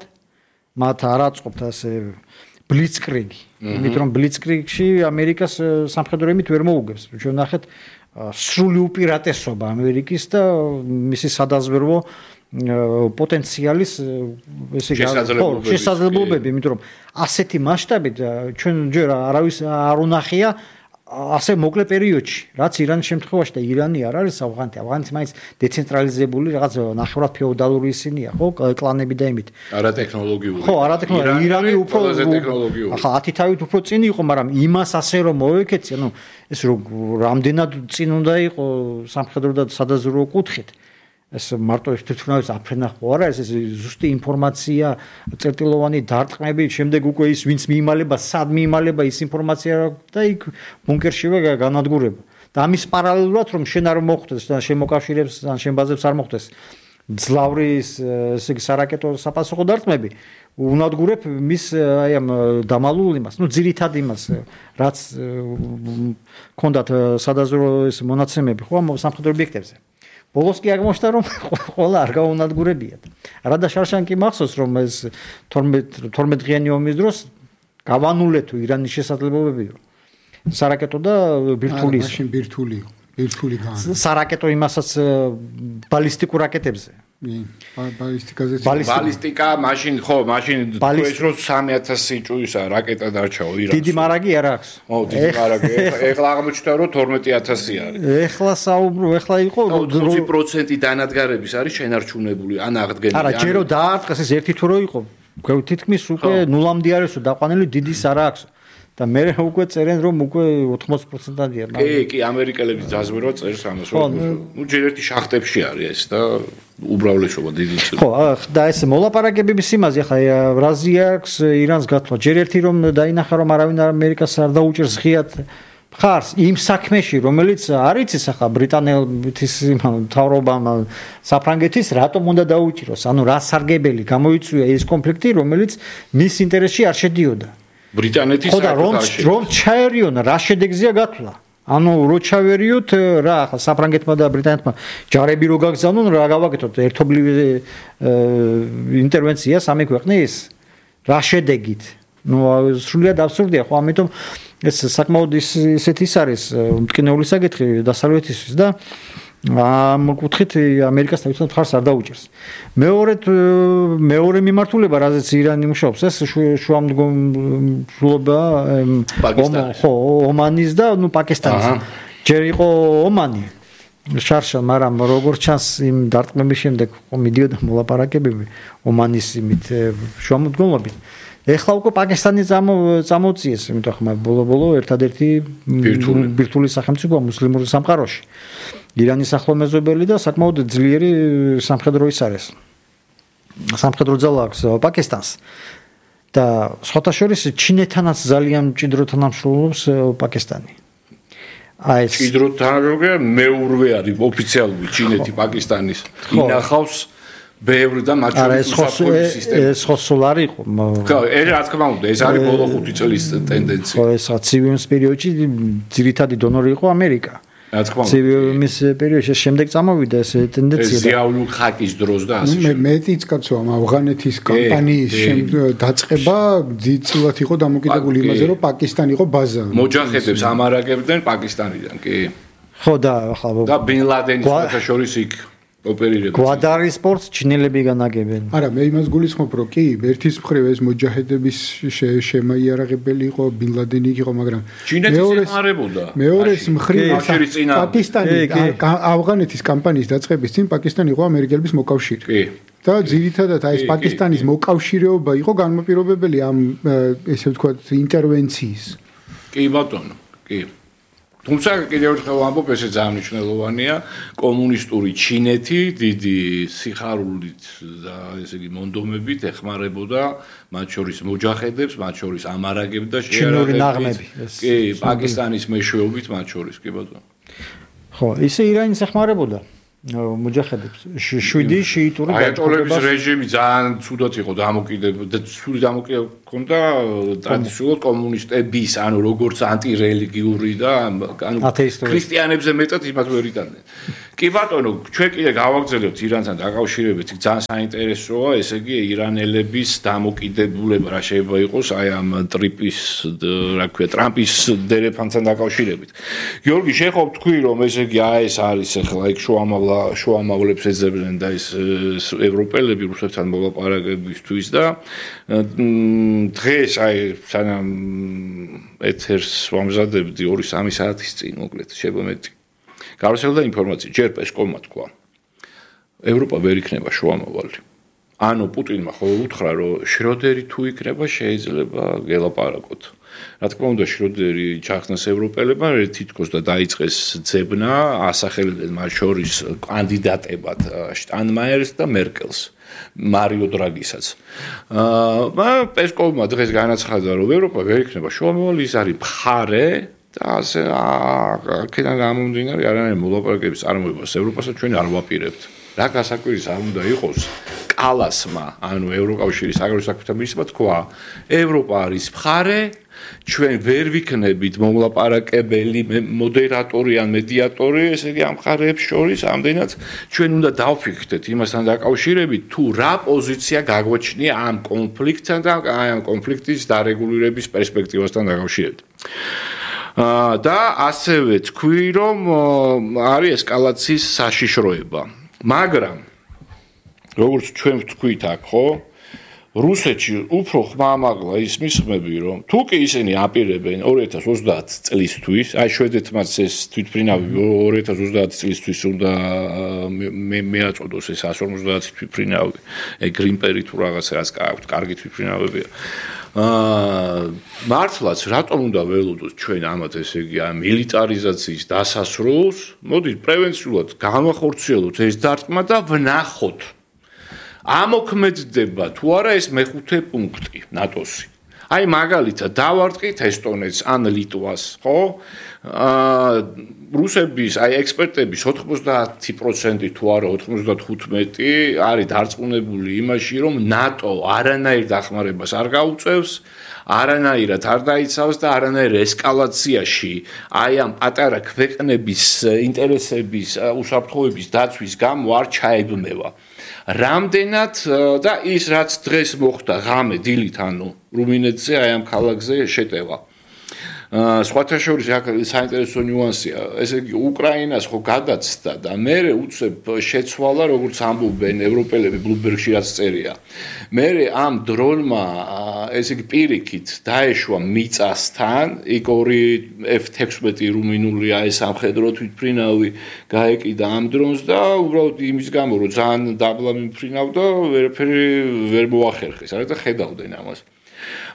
Speaker 1: მათ არ აწყობთ ასე ბლიცკრიგი. იმიტომ რომ ბლიცკრიგში ამერიკას სამხედრო ემით ვერ მოუგებს. ჩვენ ნახეთ სრული უპირატესობა ამერიკის და მისი სადაზვერვო პოტენციალის ესე შესაძლებლობები, იმიტომ რომ ასეთი მასშტაბით ჩვენ ჯერ არავის არ უნახია ასე მოკლე პერიოდში, რაც ირანის შემთხვევაში და ირანი არ არის ავღანეთი. ავღანეთი მაინც დეცენტრალიზებული რაღაც ნახევრად ფეოდალური ისინია, ხო, კლანები და იმით.
Speaker 2: არატექნოლოგიური.
Speaker 1: ხო, არატექნოლოგიური. ირანი უფრო ახლა 10 თავით უფრო წინ იყო, მაგრამ იმას ასე რომ მოეკეცი, ანუ ეს რამდენად წინ უნდა იყო სამხედრო და სადაზვერვო კუთხით. ეს მარტო ერთთვინავის აფრენა ხო არა, ეს ზუსტი ინფორმაცია, წერტილოვანი დარტყმები, შემდეგ უკვე ის ვინც მიიმალება, სად მიიმალება ის ინფორმაცია და იქ ბუნკერშივე განადგურება. და ამის პარალელურად რომ შენ არ მოხვდეს და შენ მოკავშირეებს ან შენ ბაზებს არ მოხვდეს ძლავრი ესე იგი სარაკეტო საპასუხო დარტყმები, უნადგურებ მის აი ამ დამალულ იმას, ну ძირითად იმას, რაც ქონდათ სადაზვერვო ეს მონაცემები ხო ამ სამხედრო ობიექტებზე. ბოლოს კი აღმოჩნდა რომ ყველა არ გაუნადგურებიათ. რადა შარშან კი მახსოვს რომ ეს 12 დღიანი ომის დროს გავანულე თუ ირანის შესაძლებლობები სარაკეტო და ბირთვული
Speaker 3: მაშინ ბირთვული გაანა.
Speaker 1: სარაკეტო იმასაც ბალისტიკურ რაკეტებზე.
Speaker 2: ბალისტიკა მაშინ ხო მაშინ ეს რო 3000 ჭუისა რაკეტა დარჩაო ირანს.
Speaker 1: დიდი მარაგი არ აქვს.
Speaker 2: დიდი მარაგი. ეხლა აღმოჩნდა რომ 12000 არის.
Speaker 1: ეხლა ეხლა იყო
Speaker 2: 20% დანადგარების არის შენარჩუნებული ან აღდგენილი.
Speaker 1: არა, ჯერო დაარტყეს ეს ერთი თუ რო იყო. თითქმის უკვე ნულამდე არისო დაყვანილი დიდის არ აქვს. და მე უკვე წერენ რომ უკვე 80%-ამდეა.
Speaker 2: კი, ამერიკელების დაზვერვა წერს ამას. ნუ ჯერ ერთი შახტებში არის ეს და უბრალესობა დიდი ცირ.
Speaker 1: ხო, და ეს მოლაპარაკებების იმაზე ახლა ბრაზილია აქვს ირანს გათვლა. ჯერ ერთი რომ დაინახა რომ არავინ ამერიკას არ დაუჭერს ღიად ხარს იმ საქმეში, რომელიც არ იცის ახლა ბრიტანეთის მთავრობამ საფრანგეთის რატომ უნდა დაუჭიროს. ანუ რა სარგებელი გამოიწვია ეს კონფლიქტი, რომელიც მის ინტერესში არ შედიოდა.
Speaker 2: ბრიტანეთის
Speaker 1: საერთოდ რომ ჩაერიონ რა შედეგზეა გათვლა. ანუ რო ჩავერიოთ რა ახლა საფრანგეთმა და ბრიტანეთმა ჯარები რო გაგზავნონ რა გავაკეთოთ ერთობლივ ინტერვენცია სამი ქვეყნის რა შედეგით. ნუ სრულიად აბსურდია ხო, ამიტომ ეს საკმაოდ ისეთი ის არის მტკინეული საკითხი დასავლეთისთვის და ამ კუთხით ამერიკას თავისუფლად მხარს არ დაუჭერს. მეორე მიმართულება, რაზეც ირანი მუშაობს, ეს შუამდგომლობა ომანის და ნუ პაკისტანის. ჯერ იყო ომანი შარშან, მაგრამ როგორც ჩანს იმ დარტყმების შემდეგ მიდიოდა მოლაპარაკებები ომანის იმით შუამდგომლობით. ეხლა უკვე პაკისტანი წამოწიეს, იმიტომ ხმა ბოლო ერთადერთი ბირთვული სახელმწიფოა მუსლიმურ სამყაროში. ირანის ახლომეზობელი და საკმაოდ ძლიერი სამხედრო ის არის. სამხედრო ძალა აქვს პაკისტანს. და სხვათა შორის ჩინეთანაც ძალიან მჭიდრო თანამშრომლობს პაკისტანი. აი ეს
Speaker 2: მჭიდრო თანამშრომლობა მეურვე არის ოფიციალური ჩინეთი პაკისტანის ინახავს ბევრი და მათ შორის უსაფრთხოების სისტემა.
Speaker 1: ეს ხო სულ არ იყო.
Speaker 2: ხო, რა თქმა უნდა, ეს არის ბოლო 5 წლის ტენდენცია.
Speaker 1: ხო, ეს ცივი პერიოდში ძირითადი დონორი იყო ამერიკა.
Speaker 2: რა თქმა უნდა.
Speaker 1: ცივი პერიოდში შემდეგ წამოვიდა ეს ტენდენცია.
Speaker 2: ეს ზიაული ხაკის დროს და ასე.
Speaker 3: მეტიც კაცო ამ ავღანეთის კამპანიის დაწყება ძირითადად იყო დამოკიდებული იმაზე, რომ პაკისტანი იყო ბაზა.
Speaker 2: მოჯაჰედებს ამარაგებდნენ პაკისტანიდან, კი.
Speaker 1: ხო და ახლა
Speaker 2: და ბინ ლადენის შორის იქ ოპერირებს.
Speaker 1: გვადარი სპორტს ჩინელები განაგებენ.
Speaker 3: არა, მე იმას გულისხმობ, რომ კი, ერთის მხრივ ეს მოჯაჰედების შემაიარაღებელი იყო, ბინ ლადენი იყო, მაგრამ
Speaker 2: ჩინეთის ეხმარებოდა.
Speaker 3: მეორეს მხრივ პაკისტანი ავღანეთის კამპანიის დაწყების წინ პაკისტანი იყო ამერიკელების მოკავშირე.
Speaker 2: კი.
Speaker 3: და ძირითადად აი ეს პაკისტანის მოკავშირეობა იყო განმაპირობებელი ამ ესე ვთქვათ ინტერვენციის.
Speaker 2: კი ბატონო, კი. თუმცა კიდევ ერთხელ ვამბობ, ესე ძალიან მნიშვნელოვანია, კომუნისტური ჩინეთი დიდი სიხარულით და ესე იგი მონდომებით ეხმარებოდა მათ შორის მოჯაჰედებს, მათ შორის ამარაგებს და
Speaker 1: შეერაღებებს.
Speaker 2: კი, პაკისტანის მეშვეობით მათ შორის, კი ბატონო.
Speaker 1: ხო, ისე ირანის ეხმარებოდა. მუჯაჰედებს 7 შიიტური
Speaker 2: აიატოლების რეჟიმი ძალიან ცუდად იყო დამოკიდებული და ცუდი დამოკიდებული ჰქონდა ტრადიციულად კომუნისტების ანუ როგორც ანტირელიგიური და ანუ ქრისტიანებზე მეტად იმას ვერ იტანდნენ. კი ბატონო, ჩვენ კიდე გავაგრძელებთ ირანთან დაკავშირებით, ძალიან საინტერესოა, ესე იგი ირანელების დამოკიდებულება რა შეიძლება იყოს აი ამ ტრიპის, რა ქვია, ტრამპის დერეფანთან დაკავშირებით. გიორგი, შეხობ თქვი, რომ ესე იგი ეს არის ახლა იქ შუამავლებს ეძებდნენ და ეს ევროპელები რუსეთთან მოლაპარაკებისთვის და დღეს აი სანამ ეთერს ვამზადებდი 2-3 საათის წინ მოკლედ შემომეტი გავრცელდა ინფორმაცია ჯერ პესკოვმა თქვა ევროპა ვერ იქნება შუამავალი ანუ პუტინმა ხოლმე უთხრა რომ შროდერი თუ იქნება შეიძლება გელაპარაკოთ რა თქმა უნდა შროდერი ჩახსნეს ევროპელებმა თითქოს და დაიწყეს ძებნა ასახელებდნენ მათ შორის კანდიდატებად შტანმაიერს და მერკელს მარიო დრაგისაც პესკოვმა დღეს განაცხადა რომ ევროპა ვერ იქნება შუამავალი ის არის მხარე და ასე აქედან გამომდინარე არანაირი მოლაპარაკების წარმოებას ევროპასაც ჩვენ არ ვაპირებთ რა გასაკვირის არ უნდა იყოს კალასმა ანუ ევროკავშირის საგარეო საქმეთა მინისტრმა თქვა ევროპა არის მხარე ჩვენ ვერ ვიქნებით მომლაპარაკებელი მოდერატორი ან მედიატორი ესე იგი ამ მხარეებს შორის ამდენად ჩვენ უნდა დავფიქრდეთ იმასთან დაკავშირებით თუ რა პოზიცია გაგვაჩნია ამ კონფლიქტთან და ამ კონფლიქტის დარეგულირების პერსპექტივასთან დაკავშირებით და ასევე თქვი რომ არის ესკალაციის საშიშროება მაგრამ როგორც ჩვენ ვთქვით აქ ხო რუსეთში უფრო ხმამაღლა ის მისხმები რომ თუ კი ისინი აპირებენ 2030 წლისთვის აი შვედეთმაც ეს თვითმფრინავი 2030 წლისთვის უნდა მეაწოდოს ეს 150 თვითმფრინავი გრინპერი თუ რაღაცას გააქვთ კარგი თვითმფრინავებია მართლაც რატომ უნდა ველოდოთ ჩვენ ამათ ესე იგი მილიტარიზაციის დასასრულს მოდით პრევენციულად განვახორციელოთ ეს დარტყმა და ვნახოთ ამოქმედდება თუ არა ეს მეხუთე პუნქტი ნატოსი. აი მაგალითად დავარტყით ესტონეთს ან ლიტვას, ხო? რუსების აი ექსპერტების 90% თუ არა 95 არის დარწმუნებული იმაში, რომ ნატო არანაირ დახმარებას არ გაუწევს, არანაირად არ დაიცავს და არანაირ ესკალაციაში აი ამ პატარა ქვეყნების ინტერესების უსაფრთხოების დაცვის გამო არ ჩაებმევა. რამდენად და ის რაც დღეს მოხდა ღამე დილით ანუ რუმინეთზე აი ამ ქალაქზე შეტევა სხვათა შორის საინტერესო ნიუანსია ესე იგი უკრაინას ხო გადაცდა და მერე უცებ შეცვალა როგორც ამბობენ ევროპელები ბლუმბერგში რაც წერია მერე ამ დრონმა ესე იგი პირიქით დაეშვა მიწასთან იქ ორი F-16 რუმინული აი სამხედრო თვითმფრინავი გაეკიდა ამ დრონს და უბრალოდ იმის გამო რომ ძალიან დაბლა მიმფრინავდა ვერაფერი ვერ მოახერხეს არა და ხედავდნენ ამას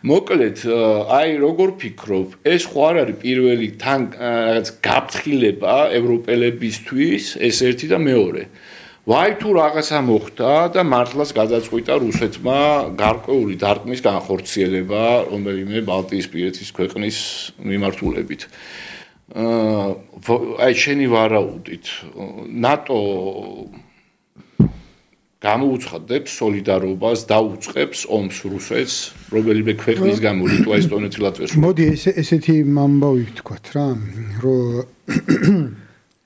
Speaker 2: მოკლედ აი როგორ ფიქრობ ეს ხო არ არის პირველი თან რაღაც გაფრთხილება ევროპელებისთვის ეს ერთი და მეორე ვაი თუ რაღაცა მოხდა და მართლაც გადაწყვიტა რუსეთმა გარკვეული დარტყმის განხორციელება რომელიმე ბალტიისპირეთის ქვეყნის მიმართულებით აი შენი ვარაუდით ნატო გამოუცხადებს სოლიდარობას და უწყებს ომს რუსეთს რომელიმე ქვეყნის გამო ლიტვა ესტონეთი ლატვია
Speaker 3: მოდი ესეთი ამბავი ვთქვათ რა რომ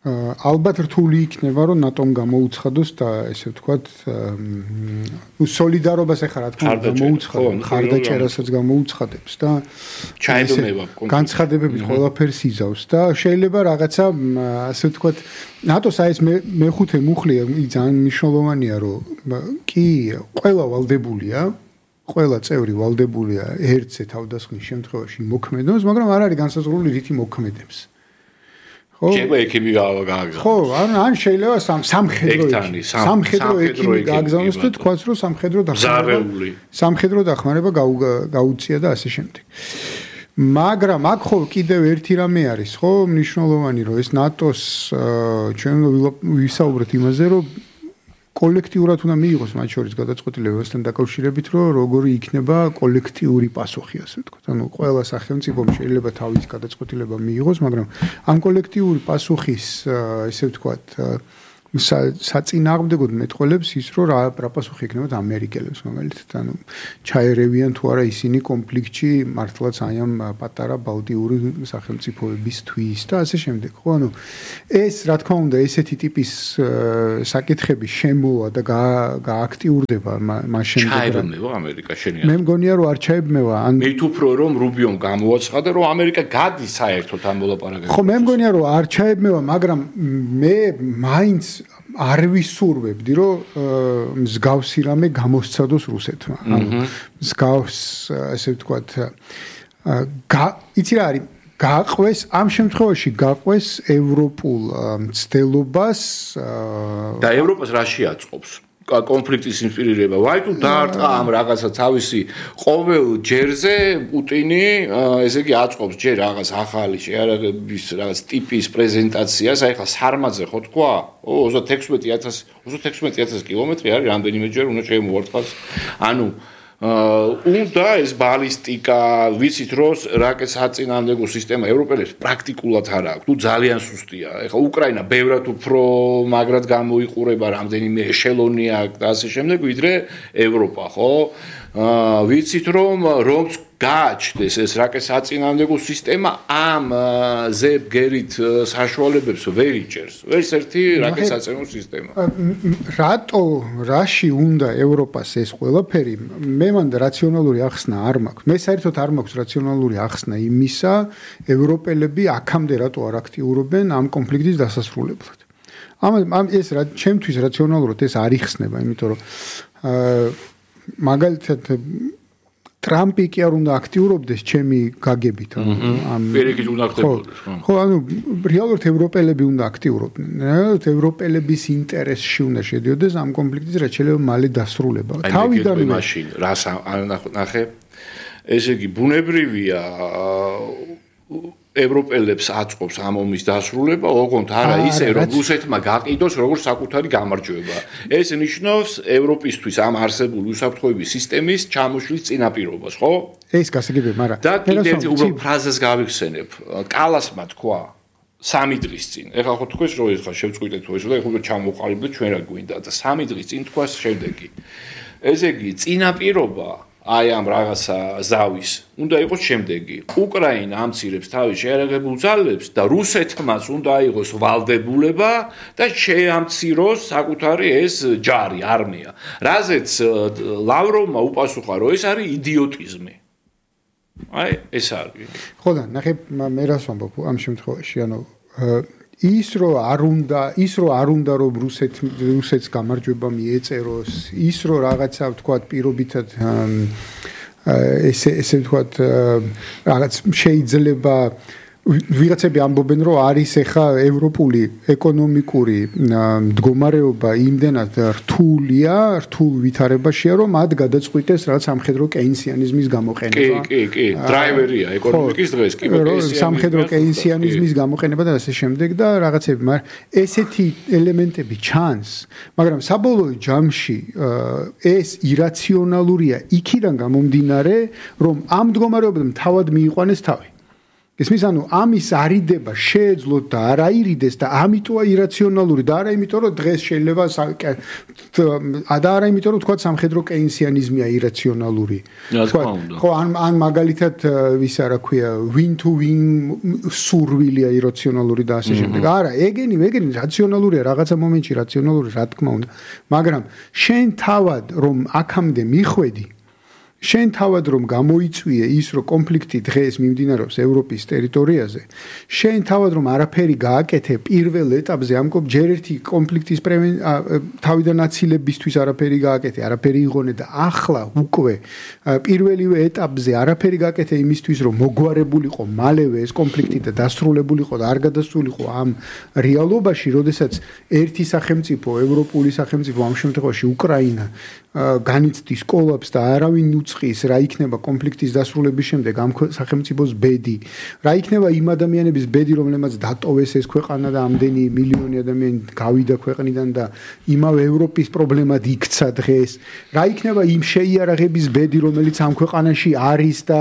Speaker 3: ალბათ რთული იქნება რომ ნატომ გამოუცხადოს და ესე ვთქვათ სოლიდარობას ახლა რა თქმა უნდა გამოუცხადოს ხარდაჭერასაც გამოუცხადებს და
Speaker 2: ჩაებმევა
Speaker 3: განცხადებებით ყველაფერს იზავს და შეიძლება რაღაცა ასე ვთქვათ ნატოს აი ეს მეხუთე მუხლია ძალიან მნიშვნელოვანია რომ კი ყველა ვალდებულია ყველა წევრი ვალდებულია ერთზე თავდასხმის შემთხვევაში მოქმედოს მაგრამ არ არის განსაზღვრული რითი მოქმედებს
Speaker 2: შეიძლება ექიმი გააგზავნოს.
Speaker 3: ხო, ან შეიძლება სამხედრო ექიმი გააგზავნოს და თქვას რომ სამხედრო დახმარება გაუწია და ასე შემდეგ. მაგრამ აქ ხო კიდევ ერთი რამე არის, ხო, მნიშვნელოვანი რომ ეს ნატოს ჩვენ ვისაუბრეთ იმაზე რომ კოლექტიურად უნდა მიიღოს მათ შორის გადაწყვეტილებასთან დაკავშირებით, რომ როგორი იქნება კოლექტიური პასუხი, ასე ვთქვათ. ანუ ყველა სახელმწიფომ შეიძლება თავის გადაწყვეტილება მიიღოს, მაგრამ ამ კოლექტიური პასუხის, ესე ვთქვათ, საწინააღმდეგოდ მეტყოლებს ის, რომ რა პასუხი ექნებათ ამერიკელებს, მაგალითად, ანუ ჩაერევიან თუ არა ისინი კონფლიქტში მართლაც აი ამ პატარა ბალტიური სახელმწიფოებისთვის და ასე შემდეგ. ხო, ანუ ეს რა თქმა უნდა ესეთი ტიპის საკითხები შემოვა და გააქტიურდება მას შემდეგ.
Speaker 2: ჩაებმევა ამერიკა შენია.
Speaker 3: მე მგონია რომ არ ჩაებმევა, ან
Speaker 2: მე თვითონ რომ რუბიომ გამოაცხადა რომ ამერიკა გადის საერთოდ ამ მოლაპარაკებებში.
Speaker 3: ხო, მე მგონია რომ არ ჩაებმევა, მაგრამ მე მაინც არ ვისურვებდი რომ მსგავსი რამე გამოსცადოს რუსეთმა. ანუ მსგავს ასე ვთქვათ იცი რა არის გაყვეს ამ შემთხვევაში გაყვეს ევროპულ მცდელობას
Speaker 2: და ევროპას რა შეაწყობს კონფლიქტის ინსპირირება. ვაი თუ დაარტყა ამ რაღაცა თავისი ყოველ ჯერზე პუტინი ესე იგი აწყობს ჯერ რაღაც ახალი შეარაღების რაღაც ტიპის პრეზენტაციას. აი ხა სარმაძე ხო თქვა 36000 კილომეტრი არის რამდენიმეჯერ უნდა შემოვარტყას. ანუ უნდა ეს ბალისტიკა ვიცით რომ რაკეტის საწინააღმდეგო სისტემა ევროპელებს პრაქტიკულად არ აქვს. თუ ძალიან სუსტია. ეხლა უკრაინა ბევრად უფრო მაგრად გამოიყურება რამდენიმე ეშელონი აქვს და ასე შემდეგ ვიდრე ევროპა, ხო? ვიცით რომ გააჩნდეს ეს რაკეტის საწინააღმდეგო სისტემა ამ ზებგერით საშუალებებს ვერ იჭერს. ვერც ერთი რაკეტის საწინააღმდეგო სისტემა.
Speaker 3: რაში უნდა ევროპას ეს ყველაფერი? მე მანდ რაციონალური ახსნა არ მაქვს. მე საერთოდ არ მაქვს რაციონალური ახსნა იმისა, ევროპელები აქამდე რატო არ აქტიურობენ ამ კონფლიქტის დასასრულებლად. ამ ეს ჩემთვის რაციონალურად ეს არ იხსნება, იმიტომ რომ მაგალითად ტრამპი კი არ უნდა აქტიურობდეს ჩემი გაგებით
Speaker 2: ამ პირიქით უნდა აქტიურობდეს
Speaker 3: ხო ანუ რეალურად ევროპელები უნდა აქტიურობდნენ რეალურად ევროპელების ინტერესში უნდა შედიოდეს ამ კონფლიქტის რაც შეიძლება მალე დასრულება
Speaker 2: თავიდანვე მაშინ რას ნახე ესე იგი ბუნებრივია ევროპელებს აწყობს ამ ომის დასრულება, ოღონდ არა ისე, რომ რუსეთმა გაყიდოს როგორც საკუთარი გამარჯვება. ეს ნიშნავს ევროპისთვის ამ არსებული უსაფრთხოების სისტემის ჩამოშლის წინაპირობას, ხო?
Speaker 3: ეს გასაგებია, მაგრამ
Speaker 2: და კიდევ უბრალოდ ფრაზას გავიხსენებ. კალასმა თქვა 3 დღის წინ. ეხლა ხო თქვენ რომ ეხლა შევწყვიტეთ ეს და ეხლა ჩამოყალიბდეთ ჩვენ რა გვინდა და 3 დღის წინ თქვა შემდეგი. ესე იგი წინაპირობა აი ამ რაღაცა ზავის უნდა იყოს შემდეგი. უკრაინა ამცირებს თავის შეერაღებულ ძალებს და რუსეთმაც უნდა აიღოს ვალდებულება და შეამციროს საკუთარი ეს ჯარი, არმია. რაზეც ლავროვმა უპასუხა, რომ ეს არის იდიოტიზმი. აი, ეს არის.
Speaker 3: ხო და ნახე მე რას ვამბობ ამ შემთხვევაში, ანუ ის რომ არ უნდა რომ რუსეთს გამარჯვება მიეწეროს, ის რომ რაღაცა ვთქვათ პირობითად ესე ვთქვათ რაღაც შეიძლება ვიღაცები ამბობენ რომ არის ახლა ევროპული ეკონომიკური მდგომარეობა იმდენად რთულ ვითარებაშია რომ მათ გადაწყვიტეს რაღაც სამხედრო კეინსიანიზმის გამოყენება.
Speaker 2: კი, დრაივერია ეკონომიკის დღეს კი
Speaker 3: სამხედრო კეინსიანიზმის გამოყენება და ასე შემდეგ და რაღაცები, მაგრამ ესეთი ელემენტები ჩანს, მაგრამ საბოლოო ჯამში ეს ირაციონალურია იქიდან გამომდინარე, რომ ამ მდგომარეობამ თავად მიიყვანეს თავი. ისმის ანუ ამის არიდება შეეძლოთ და არ აირიდეს და ამიტოა ირაციონალური და არა იმიტომ რომ დღეს შეიძლება და არა იმიტომ რომ თქვა სამხედრო კეინსიანიზმია ირაციონალური ხო ან მაგალითად ისა რა ქვია win to win სურვილია ირაციონალური და ასე შემდეგ არა ეგენი რაციონალურია რაღაცა მომენტში რაციონალური რა თქმა უნდა მაგრამ შენ თავად რომ აქამდე მიხვედი შენ თავად რომ გამოიწვიე ის რომ კონფლიქტი დღეს მიმდინარეობს ევროპის ტერიტორიაზე შენ თავად რომ არაფერი გააკეთე პირველ ეტაპზე ამ ჯერ ერთი კონფლიქტის თავიდან აცილებისთვის არაფერი გააკეთე არაფერი იღონე და ახლა უკვე პირველივე ეტაპზე არაფერი გააკეთე იმისთვის რომ მოგვარებულიყო მალევე ეს კონფლიქტი და დასრულებულიყო და არ გადასულიყო ამ რეალობაში როდესაც ერთი სახელმწიფო ევროპული სახელმწიფო ამ შემთხვევაში უკრაინა განიცდის კოლაპს და არავინ უწყის რა იქნება კონფლიქტის დასრულების შემდეგ ამ სახელმწიფოს ბედი რა იქნება იმ ადამიანების ბედი რომლებმაც დატოვეს ეს ქვეყანა და ამდენი მილიონი ადამიანი გავიდა ქვეყნიდან და იმავე ევროპის პრობლემად იქცა დღეს რა იქნება იმ შეიარაღების ბედი რომელიც ამ ქვეყანაში არის და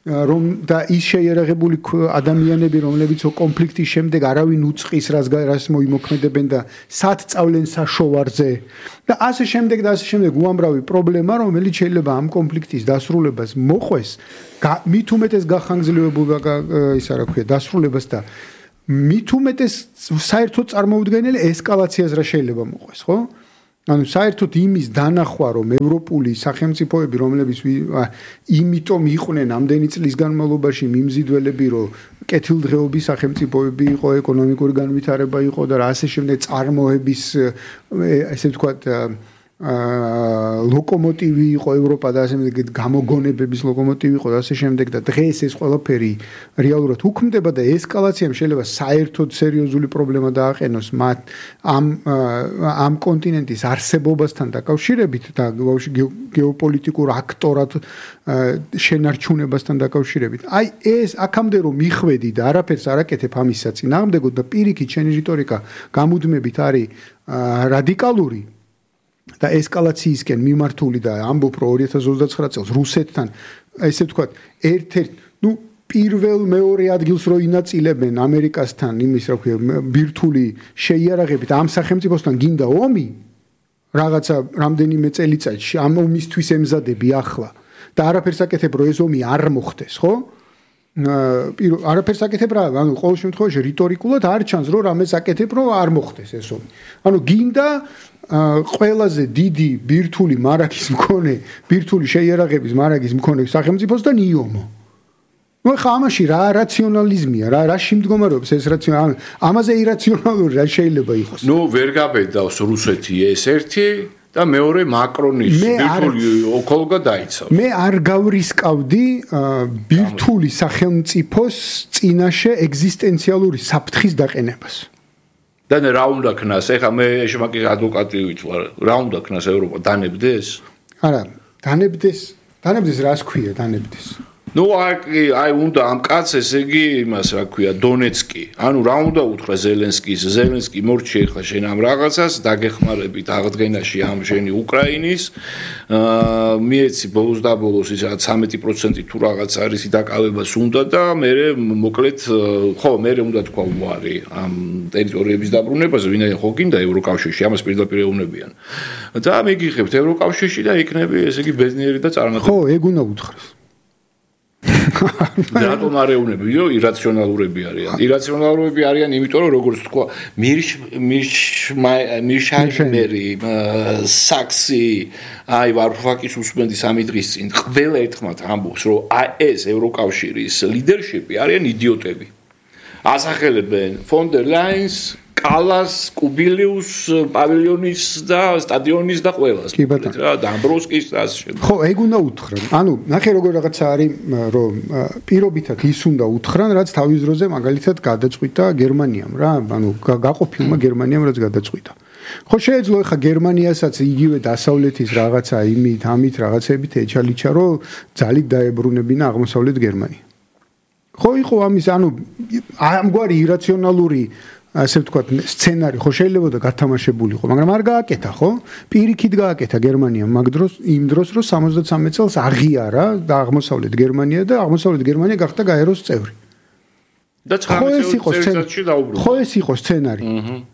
Speaker 3: რომ და ის შეიარაღებული ადამიანები, რომლებიც კონფლიქტის შემდეგ არავინ უწყის რას მოიმოქმედებენ და სად წავლენ საშოვარზე და ასე შემდეგ უამრავი პრობლემა, რომელიც შეიძლება ამ კონფლიქტის დასრულებას მოყვეს, მით უმეტეს გახანგრძლივებულ ისა რა ქვია, დასრულებას და მით უმეტეს საერთოდ წარმოუდგენელი ესკალაციას რა შეიძლება მოყვეს, ხო? ანუ საერთოდ იმის დანახვა, რომ ევროპული სახელმწიფოები, რომლებიც იმიტომ იყვნენ ამდენი წლის განმავლობაში მიმზიდველები, რომ კეთილდღეობის სახელმწიფოები იყო, ეკონომიკური განვითარება იყო და ასე შემდეგ წარმოების ესე ვთქვათ ლოკომოტივი იყო ევროპა და ასე შემდეგ გამოგონებების ლოკომოტივი იყო და ასე შემდეგ და დღეს ეს ყველაფერი რეალურად უქმდება და ესკალაციამ შეიძლება საერთოდ სერიოზული პრობლემა დააყენოს მათ ამ კონტინენტის არსებობასთან დაკავშირებით და გეოპოლიტიკურ აქტორად შენარჩუნებასთან დაკავშირებით. აი ეს აქამდე რომ მიხვედი და არაფერს არ აკეთებ ამის საწინააღმდეგოდ და პირიქით შენი რიტორიკა გამუდმებით არის რადიკალური და ესკალაციისკენ მიმართული და ამბობ რომ 2029 წელს რუსეთთან ესე ვთქვათ ერთ-ერთ პირველ მეორე ადგილს რო ინაწილებენ ამერიკასთან იმის რა ქვია ბირთვული შეიარაღებით ამ სახელმწიფოსთან გინდა ომი რაღაცა რამდენიმე წელიწადში ამ ომისთვის ემზადები ახლა და არაფერს აკეთებ რომ ეს ომი არ მოხდეს ხო არაფერს აკეთებ რა ანუ ყოველ შემთხვევაში რიტორიკულად არ ჩანს რომ რამეს აკეთებ რომ არ მოხდეს ეს ომი ანუ გინდა ყველაზე დიდი ბირთვული მარაგის მქონე ბირთვული შეიარაღების მარაგის მქონე სახელმწიფოსთან იომო ნუ ხა ამაში რა რაციონალიზმია რა შემდგომარეობს ეს რაციონალი ამაზე ირაციონალური რა შეიძლება იყოს
Speaker 2: ნუ ვერ გაბედავს რუსეთი ეს ერთი და მეორე მაკრონის ბირთვული ოკოლგა დაიცავს
Speaker 3: მე არ გავრისკავდი ბირთვული სახელმწიფოს წინაშე ეგზისტენციალური საფრთხის დაყენებას
Speaker 2: და რა უნდა ქნას ეხა მე შემაკი ადვოკატი ვარ რა უნდა ქნას ევროპა დანებდეს
Speaker 3: არა დანებდეს რას ქვია დანებდეს
Speaker 2: ნუ აი უნდა ამ კაცს ესე იგი იმას რა ქვია დონეცკი ანუ რა უნდა უთხრა ზელენსკი მორჩი ეხლა შენ ამ რაღაცას დაგეხმარებით აღდგენაში ამ შენი უკრაინის მიეცი ბოლოს და ბოლოს ის 13% თუ რაღაც არის დაკავებას უნდა და მე მოკლედ ხო მე უნდა თქვა უარი ამ ტერიტორიების დაბრუნებაზე ვინაიდან ხო გინდა ევროკავშირში ამას პირდაპირ ეუბნებიან და მიგიხებთ ევროკავშირში და იქნები ესე იგი ბედნიერი და წარმატებული
Speaker 3: ხო ეგ უნდა უთხრას
Speaker 2: რატომ არ ეუბნებიო ირაციონალურები არიან იმიტომ რომ როგორც თქვა მირშაიმერი საქსი აი ვარფაკის უსმენდის ამი დღის წინ ყველა ერთხმად ამბობს რომ აი ეს ევროკავშირის ლიდერშიპი არიან იდიოტები ასახელებენ ფონ დერ ლაინს კალას, კუბილიუს, პავილიონის და სტადიონის და ყველას. რა დამბროსკის და ასე შემდეგ.
Speaker 3: ხო, ეგ უნდა უთხრან. ანუ ნახე როგორ რაღაცა არის, რომ პირობითად ის უნდა უთხრან, რაც თავის დროზე მაგალითად გადაწყვიტა გერმანიამ რა, ანუ გაყოფილმა გერმანიამ რაც გადაწყვიტა. ხო, შეიძლება ხა გერმანიასაც იგივე დასავლეთის რაღაცა ამით რაღაცებით ეჩალიჩა, რომ ძალით დაებრუნებინა აღმოსავლეთ გერმანია. ხო, იყო ამის, ანუ ამგვარი ირაციონალური ასე ვთქვათ სცენარი ხო შეიძლება და გათამაშებულიყო მაგრამ არ გააკეთა ხო პირიქით გააკეთა გერმანიამ მაგ დროს იმ დროს რომ 73 წელს აღიარა და აღმოსავლეთ გერმანია და აღმოსავლეთ გერმანია გახდა გაეროს წევრი
Speaker 2: და 19 წელიწადში დაუბრუნდა
Speaker 3: ხო ეს იყო სცენარი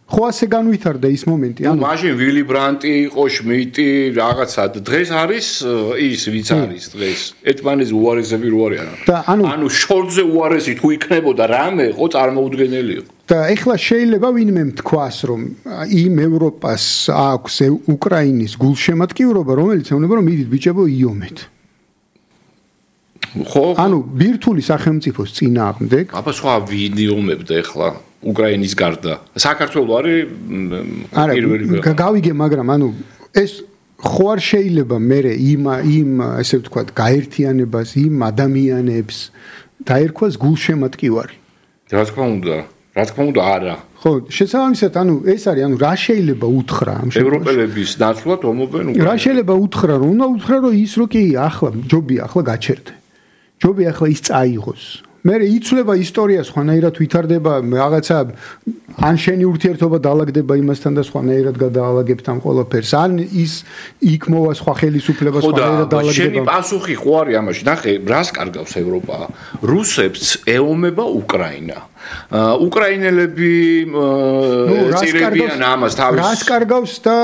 Speaker 3: ხო ასე განვითარდა ის მომენტი
Speaker 2: ანუ მაშინ ვილი ბრანტი იყო შმიტი რაღაცა დღეს არის ის ვიც არის დღეს ერთმანეთს უარესები რო არიან ანუ შორტზე უარესი თუ იქნებოდა რამე ხო წარმოუდგენელი იყო
Speaker 3: და ეხლა შეიძლება ვინმე თქვას რომ იმ ევროპას აქვს უკრაინის გულშემატკივრობა რომელიც ეუბნება რომ მიდით ბიჭებო იომეთ
Speaker 2: ხო
Speaker 3: ანუ ბირთვული სახელმწიფოს წინააღმდეგ
Speaker 2: აბა სხვა ვინ იომებდა ეხლა უკრაინის გარდა საქართველო არის პირველი
Speaker 3: გავიგე მაგრამ ანუ ეს ხო არ შეიძლება მე იმ ესე ვთქვათ გაერთიანებას იმ ადამიანებს დაერქვას გულშემატკივარი
Speaker 2: რა თქმა უნდა არა
Speaker 3: ხო შესაბამისად ანუ ეს არის ანუ რა შეიძლება უთხრა ამ
Speaker 2: ევროპელების ნაცვლად ომობენ უკრაინას
Speaker 3: რა შეიძლება უთხრა რომ უნდა უთხრა რომ ის რო კი ახლა ჯობია ახლა გაჩერდე ჯობია ახლა ის წაიღოს მე იცვლება ისტორია სხვანაირად ვითარდება რაღაცა ან შენი ურთიერთობა დაალაგდება იმასთან და სხვანაირად გადაალაგებთ ამ ყველაფერს ან ის იქ მოვა სხვა ხელისუფლება სხვანაირად დაალაგდება
Speaker 2: შენი პასუხი ხო არის ამაში ნახე რას კარგავს ევროპა რუსებს ეომება უკრაინა უკრაინელები წირებიან ამას თავის
Speaker 3: რას კარგავს და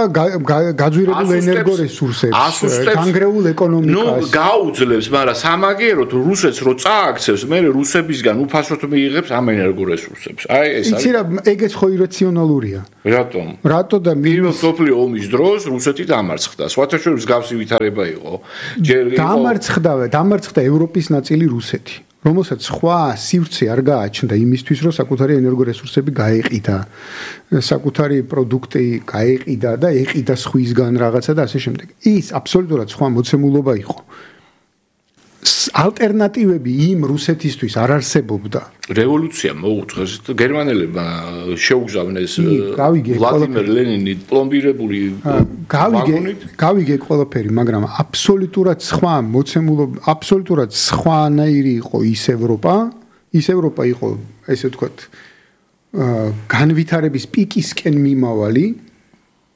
Speaker 3: გაძვირებულ ენერგორესურსებს განგრეულ ეკონომიკას
Speaker 2: გაუძლებს მაგრამ სამაგიეროდ რუსეთს რო წააქცევს მე რუსებისგან უფასოდ მიიღებს ამ ენერგორესურსებს აი ეს არის
Speaker 3: იცი რა ეგეც ხო ირაციონალურია რატო და
Speaker 2: პირველ სოფლიო ომის დროს რუსეთი დამარცხდა სხვათა შორის მსგავსი ვითარება იყო
Speaker 3: დამარცხდა ევროპის ნაწილი რუსეთი რომელსაც სხვა სივრცე არ გააჩნდა იმისთვის რომ საკუთარი ენერგორესურსები გაეყიდა საკუთარი პროდუქტი გაეყიდა და ეყიდა სხვისგან რაღაცა და ასე შემდეგ ის აბსოლუტურად სხვა მოცემულობა იყო ალტერნატივები იმ რუსეთისთვის არ არსებობდა
Speaker 2: რევოლუცია მოუწეს გერმანელებმა შეუგზავნეს ვლადიმერ ლენინი პლომბირებული
Speaker 3: გავიგე ყველაფერი მაგრამ აბსოლუტურად სხვა მოცემულობა აბსოლუტურად სხვანაირი იყო ის ევროპა იყო ესე ვთქვათ განვითარების პიკისკენ მიმავალი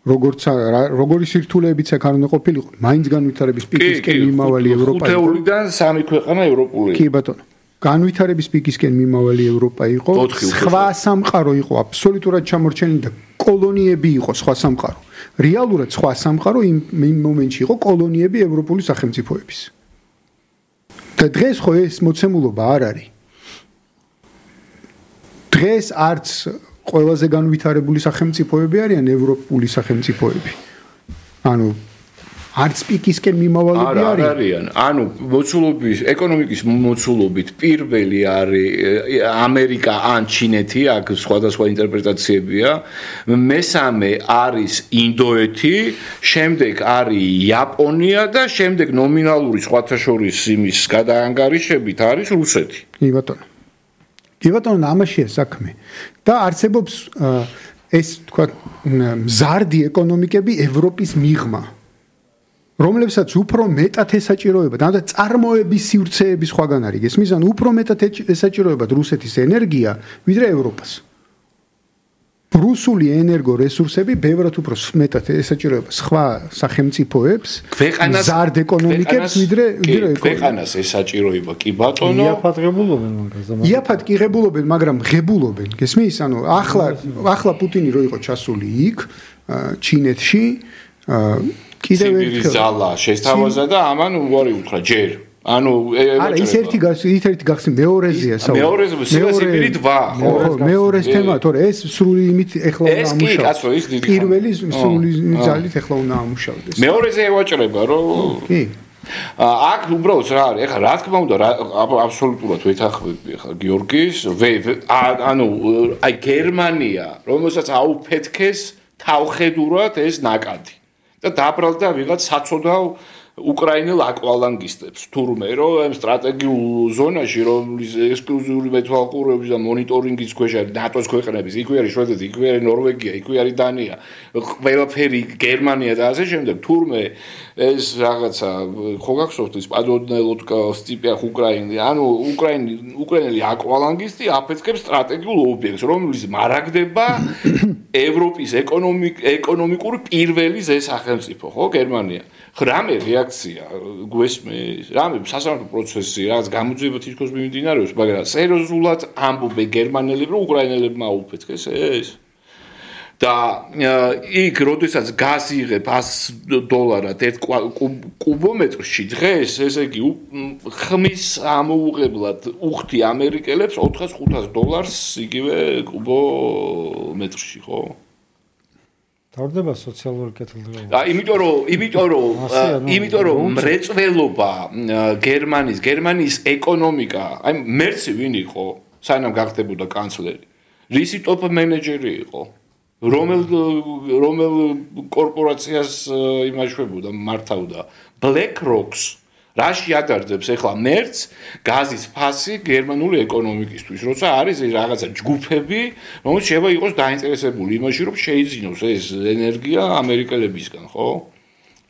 Speaker 3: როგორი სირთულეებიც აქ არ უნდა ყოფილიყო მაინც განვითარების პიკისკენ მიმავალი ევროპა იყო
Speaker 2: ხუთეულიდან სამი ქვეყანა ევროპული
Speaker 3: კი ბატონო განვითარების პიკისკენ მიმავალი ევროპა იყო სხვა სამყარო იყო აბსოლუტურად ჩამორჩენილი და კოლონიები იყო სხვა სამყარო რეალურად სხვა სამყარო იმ მომენტში იყო კოლონიები ევროპული სახელმწიფოების და დღეს ხო ეს მოცემულობა არ არის დღეს არც ყველაზე განვითარებული სახელმწიფოები არიან ევროპული სახელმწიფოები. ანუ არც პიკისკენ მიმავალები
Speaker 2: არიან. ანუ მოცულობის ეკონომიკის მოცულობით პირველი არის ამერიკა ან ჩინეთი, აქ სხვადასხვა ინტერპრეტაციებია. მესამე არის ინდოეთი, შემდეგ არის იაპონია და შემდეგ ნომინალური სხვათა შორის იმის გადაანგარიშებით არის რუსეთი.
Speaker 3: კი ბატონო. კი ბატონო, ამაშია საქმე. და არსებობს ეს თქვა მზარდი ეკონომიკები ევროპის მიღმა, რომლებსაც უფრო მეტად ესაჭიროებათ, და წარმოების სივრცეები სხვაგან არის. გესმის, ანუ უფრო მეტად ესაჭიროებათ რუსეთის ენერგია, ვიდრე ევროპას. რუსული ენერგორესურსები ბევრად უფრო მეტად ესაჭიროება სხვა სახელმწიფოებს, მზარდ ეკონომიკებს, ვიდრე
Speaker 2: ქვეყანას ესაჭიროება კი ბატონო.
Speaker 3: იაფად კი ღებულობენ, მაგრამ ღებულობენ. გესმის? ანუ ახლა პუტინი რო იყო ჩასული იქ, ჩინეთში,
Speaker 2: კიდევ ერთი ზალა შესთავაზა და ამან უარი უთხრა ჯერ. ანუ
Speaker 3: არა ის ერთი გახსნი მეორეზეა
Speaker 2: საუბარი. მეორე დვა ხო?
Speaker 3: მეორეს თემა, თორე ეს სრული იმით ეხლა უნდა ამუშავდეს.
Speaker 2: ეს კი კაცო ის დიდი
Speaker 3: პირველი სრული ძალით ეხლა უნდა ამუშავდეს.
Speaker 2: მეორეზე ევაჭრება რომ
Speaker 3: კი.
Speaker 2: აქ უბრალოდ რა არის? ეხლა რა თქმა უნდა აბსოლუტურად ვეთანხმები ეხლა გიორგის, ანუ აი გერმანია, რომელსაც აუფეთქეს თავხედურად ეს ნაკადი. და დაბრალდა ვიღაც საწოდავ უკრაინელ აკვალანგისტებს თურმე რომ ამ სტრატეგიულ ზონაში რომლის ექსკლუზიური მეთვალყურეობის და მონიტორინგის ქვეშ არის ნატოს ქვეყნების, იქვე არის შვედეთი, იქვე არის ნორვეგია, იქვე არის დანია, ყველაფერი გერმანია და ასე შემდეგ. თურმე ეს რაღაცა ხო გახსოვთ ის პადონელოტკა სტიპიახ უკრაინი, ანუ უკრაინელი აკვალანგისტი აფეთქებს სტრატეგიულ ობიექტს, რომლის მარაგდება ევროპის ეკონომიკური პირველი ზესახელმწიფო, ხო, გერმანია. რამე რეაქცია გვესმის, რამე სასამართლო პროცესი, რაღაც გამოძიება თითქოს მიმდინარეობს, მაგრამ სერიოზულად ამბობენ გერმანელები, რომ უკრაინელებმა აუფეთქეს ეს. და იქ როდესაც გაზი იღებ $100 ერთ კუბომეტრში დღეს, ესე იგი ხმის ამოუღებლად უხდი ამერიკელებს $400-500 იგივე კუბომეტრში, ხო?
Speaker 1: თავდება სოციალური კეთილდღეობა.
Speaker 2: იმიტომ რომ მრეწველობა გერმანიის ეკონომიკა, აი მერცი ვინ იყო, საინამ გახდებოდა კანცლერი. რისი ტოპ მენეჯერი იყო? რომელ კორპორაციას იმაშვებოდა, მართავდა? BlackRock-ს. რაში ადარდებს ახლა მერც გაზის ფასი გერმანული ეკონომიკისთვის, როცა არის რაღაცა ჯგუფები, რომელიც შეიძლება იყოს დაინტერესებული იმაში, რომ შეიძინოს ეს ენერგია ამერიკელებისგან, ხო?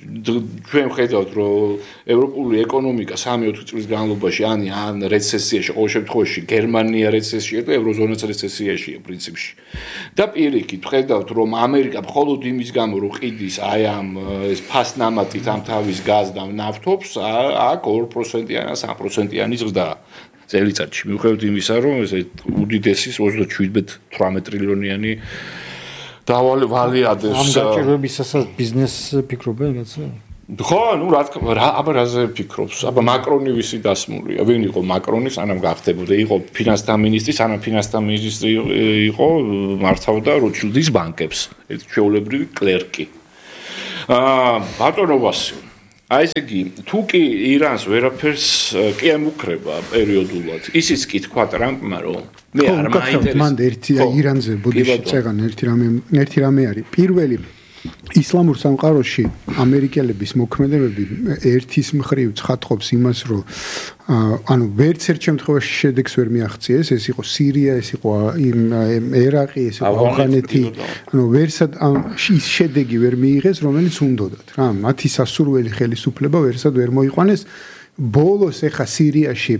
Speaker 2: ჩვენ ხედავთ რომ ევროპული ეკონომიკა 3-4 წლის განმავლობაში ან რეცესიაში, ყოველ შემთხვევაში გერმანია რეცესიაშია და ევროზონაც რეცესიაშია პრინციპში. და პირიქით ხედავთ რომ ამერიკა მხოლოდ იმის გამო რომ ყიდის აი ამ ეს ფასნამატით ამ თავის გაზ და ნავთობს აქ 2%-იანი ან 3%-იანი ზრდა წელიწადში. მიუხედავად იმისა რომ ეს უდიდესი 37-18 ტრილიონიანი დავალი ადეს
Speaker 1: ამ გაჭირვებისასაც ბიზნესს ფიქრობენ კაცო?
Speaker 2: ხო, ну რა თქმა უნდა, აბა რაზე ფიქრობს? აბა მაკრონი ვისი დასმულია? ვინ იყო მაკრონი, სანამ გახდებოდა? იყო ფინანსთა მინისტრი, სანამ ფინანსთა მინისტრი იყო, მართავდა როჩილდის ბანკებს. ეს ჩვეულებრივი კლერკი. ბატონო ვასილ, აი ესე იგი, თუ კი ირანს ვერაფერს კი ემუქრება პერიოდულად, ისიც კი თქვა ტრამპმა, რომ მე არ მაინტერესებს.
Speaker 3: მან ერთი ირანზე ბოდიში წეგან ერთი რამე არის. პირველი ისლამურ სამყაროში ამერიკელების მოქმედებები ერთის მხრივ ცხადყოფს იმას, რომ ანუ ვერც ერთ შემთხვევაში შედეგს ვერ მიაღწიეს, ეს იყო სირია, ეს იყო ერაყი, ეს იყო ავღანეთი, ანუ ვერსად ის შედეგი ვერ მიიღეს, რომელიც უნდოდათ რა, მათი სასურველი ხელისუფლება ვერსად ვერ მოიყვანეს. ბოლოს ეხა სირიაში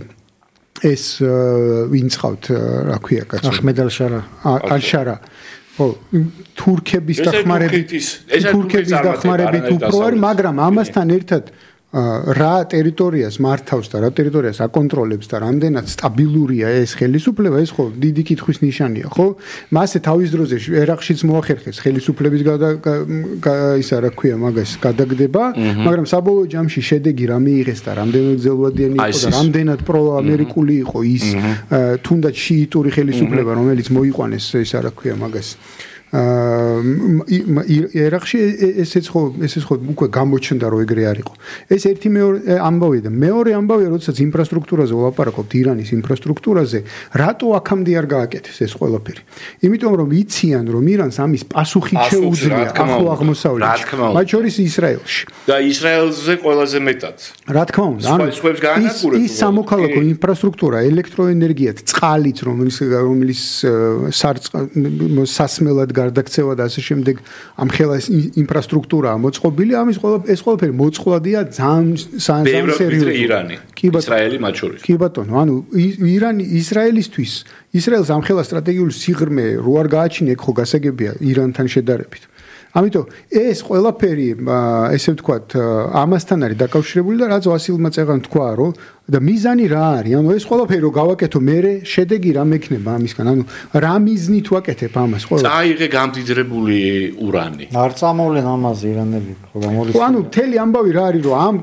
Speaker 3: ეს ვინც ყავთ, რა ქვია კაცო?
Speaker 1: აჰმედ ალ-შარა. ო თურქების დახმარებით უფრო არის, მაგრამ ამასთან ერთად რა ტერიტორიას მართავს და რა ტერიტორიას აკონტროლებს და რამდენად სტაბილურია ეს ხელისუფლება, ეს ხო დიდი კითხვის ნიშანია, ხო? მასე თავის დროზე ერაყშიც მოახერხეს ხელისუფლების ისა რა ქვია მაგას გადაგდება, მაგრამ საბოლოო ჯამში შედეგი რა მიიღეს და რამდენად ძელვადიანი იყო და რამდენად პროამერიკული იყო ის თუნდაც შიიტური ხელისუფლება, რომელიც მოიყვანეს ისა რა ქვია მაგას ერაყში ესეც ხო უკვე გამოჩნდა რომ ეგრე არ იყო. ეს ერთი მეორე ამბავია და მეორე ამბავია, როდესაც ინფრასტრუქტურაზე ვლაპარაკობთ, ირანის ინფრასტრუქტურაზე, რატო აქამდე არ გააკეთეს ეს ყველაფერი? იმიტომ რომ იციან რომ ირანს ამის პასუხი შეუძლია ახლო აღმოსავლეთში, მათ შორის ისრაელში.
Speaker 2: და ისრაელზე ყველაზე მეტად.
Speaker 3: რა თქმა უნდა, ის სამოქალაქო ინფრასტრუქტურა, ელექტროენერგიათ, წყალით, რომელიც სასმელად გარდაქცევა და ასე შემდეგ ამ ხელა ინფრასტრუქტურაა მოწყობილი, ამის ეს ყველაფერი მოწყვლადია ძალიან სერიოზულად.
Speaker 2: ირანი, ისრაელი მათ შორის.
Speaker 3: კი ბატონო, ანუ ირანი ისრაელისთვის, ისრაელს ამ ხელა სტრატეგიული სიღრმე რო არ გააჩინია, ხო გასაგებია ირანთან შედარებით. ამიტომ ეს ყველაფერი, ესე ვთქვათ, ამასთან არის დაკავშირებული და რაც ვასილმა წეგან თქვა, რომ და მიზანი რა არის? ანუ ეს ყველაფერი რო გავაკეთო, მე შედეგი რა მექნება ამისგან? ანუ რა მიზნით ვაკეთებ ამას ყველაფერს?
Speaker 2: წაიღე გამდიდრებული ურანი.
Speaker 1: არ წამოვლენ ამაზე ირანელი, ხო გამორიცხული.
Speaker 3: ანუ მთელი ამბავი რა არის, რომ ამ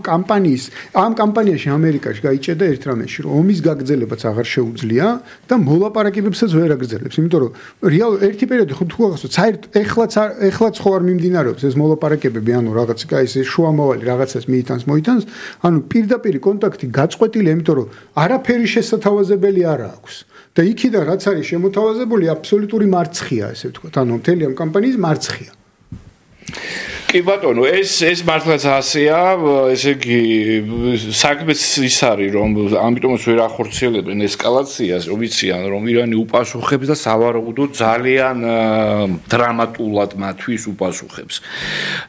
Speaker 3: კამპანიაში ამერიკაში გაიჭედა ერთ რამეში, რომ ომის გაგრძელებაც აღარ შეუძლია და მოლაპარაკებებსაც ვერ აგრძელებს, იმიტომ რომ რეალ ერთი პერიოდი ხო თუ გახსოვთ, საერთოდ ეხლაც ხო არ მიმდინარეობს ეს მოლაპარაკებები, ანუ რაღაც ეს შუამავალი რაღაცას მოიტანს, ანუ პირდაპირ კონტაქტი გაწყვეტილია, იმიტომ რომ არაფერი შესათავაზებელი არ აქვს. და იქიდან რაც არის შემოთავაზებული, აბსოლუტური მარცხია, ესე ვთქვათ, ანუ მთელი ამ კამპანიის მარცხია.
Speaker 2: კი ბატონო, ეს მართლაც ასეა, ესე იგი საქმეც ის არის, რომ ამიტომაც ვერ ახორციელებენ ესკალაციას, რომ იციან, რომ ირანი უპასუხებს და სავარაუდოდ ძალიან დრამატულად მათთვის უპასუხებს.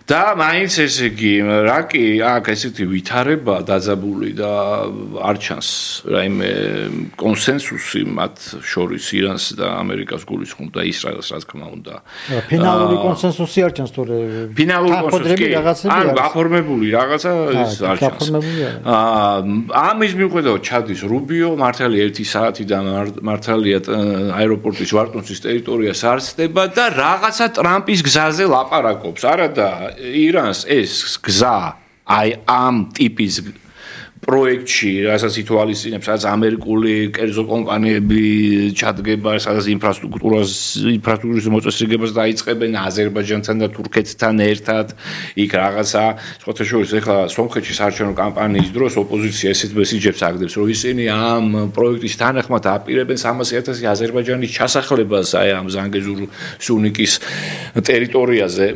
Speaker 2: და მაინც ესე იგი, რა კი აქ ესეთი ვითარება დაძაბული და არ ჩანს რაიმე კონსენსუსი მათ შორის ირანს და ამერიკას გულისხმობ და ისრაელს, რა თქმა უნდა.
Speaker 1: ფინალური კონსენსუსი არ ჩანს თორე
Speaker 2: ფინალური ანუ გაფორმებული რაღაცა ის არ ჩანს. ამის მიუხედავად ჩადის რუბიო, მართალია 1 საათიდან მართალია აეროპორტის ვარტონსის ტერიტორიას არ ცდება და რაღაცა ტრამპის გზაზე ლაპარაკობს. არადა ირანს ეს გზა აი ამ ტიპის პროექტში, რასაც ითვალისწინებს, სადაც ამერიკული კერძო კომპანიები ჩადგება, სადაც ინფრასტრუქტურის მოწესრიგებას დაიწყებენ აზერბაიჯანთან და თურქეთთან ერთად. იქ რაღაცა, სხვათა შორის, ეხლა სომხეთში საარჩევნო კამპანიის დროს ოპოზიცია ესეთ მესიჯებს აგდებს, რომ ისინი ამ პროექტის თანახმად აპირებენ 300,000 აზერბაიჯანის ჩასახლებას აი ამ ზანგეზურ სუნიკის ტერიტორიაზე.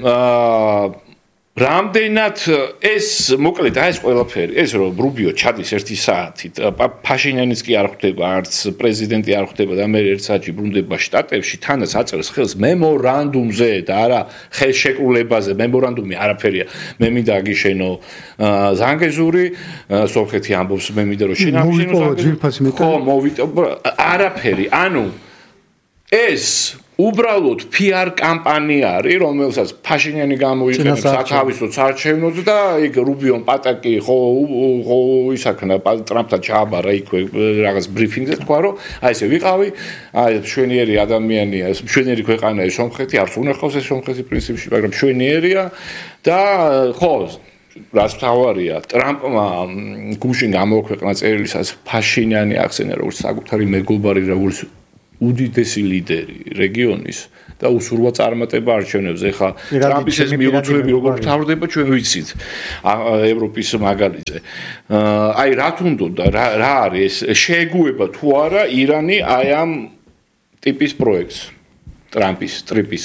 Speaker 2: რამდენად ეს მოკლედ ეს ყველაფერი ეს რომ რუბიო ჩადის 1 საათით ფაშინიანიც კი არ ხვდება არც პრეზიდენტი არ ხვდება და მე 1 საათში ბრუნდება შტატებში თანაც აწერს ხელს მემორანდუმზე და არა ხელშეკრულებაზე მემორანდუმი არაფერია მე მინდა აგიშენო ზანგეზური სომხეთი ამბობს მე მინდა რომ შინაარსი ხო მოვიტო არაფერი ანუ ეს უბრალოდ PR კამპანია არის, რომელსაც ფაშინიანი გამოიყენებს სათავისო საარჩევნოდ და იქ რუბიონ პატაკი ხო ისაქნა ტრამპთან ჩააბარა იქვე რაღაც ბრიფინგზე თქვა რომ აი ესე ვიყავი, აი მშვენიერი ადამიანია, მშვენიერი ქვეყანაა სომხეთი, არც უნახავს ეს სომხეთი პრინციპში, მაგრამ მშვენიერია და ხო რაც თავარია ტრამპმა გუშინ გამოაქვეყნა წერილისას ფაშინიანი ახსენა როგორც საკუთარი მეგობარი როგორც უდიდესი ლიდერი რეგიონის და უსურვა წარმატება არჩევნებზე. ეხლა ტრამპის ეს მიუწვევი როგორ თავდება ჩვენ ვიცით ევროპის მაგალითზე. აი რა თუნდოდა რა არის შეეგუება თუ არა ირანი აი ამ ტიპის პროექტს ტრამპის ტრიპის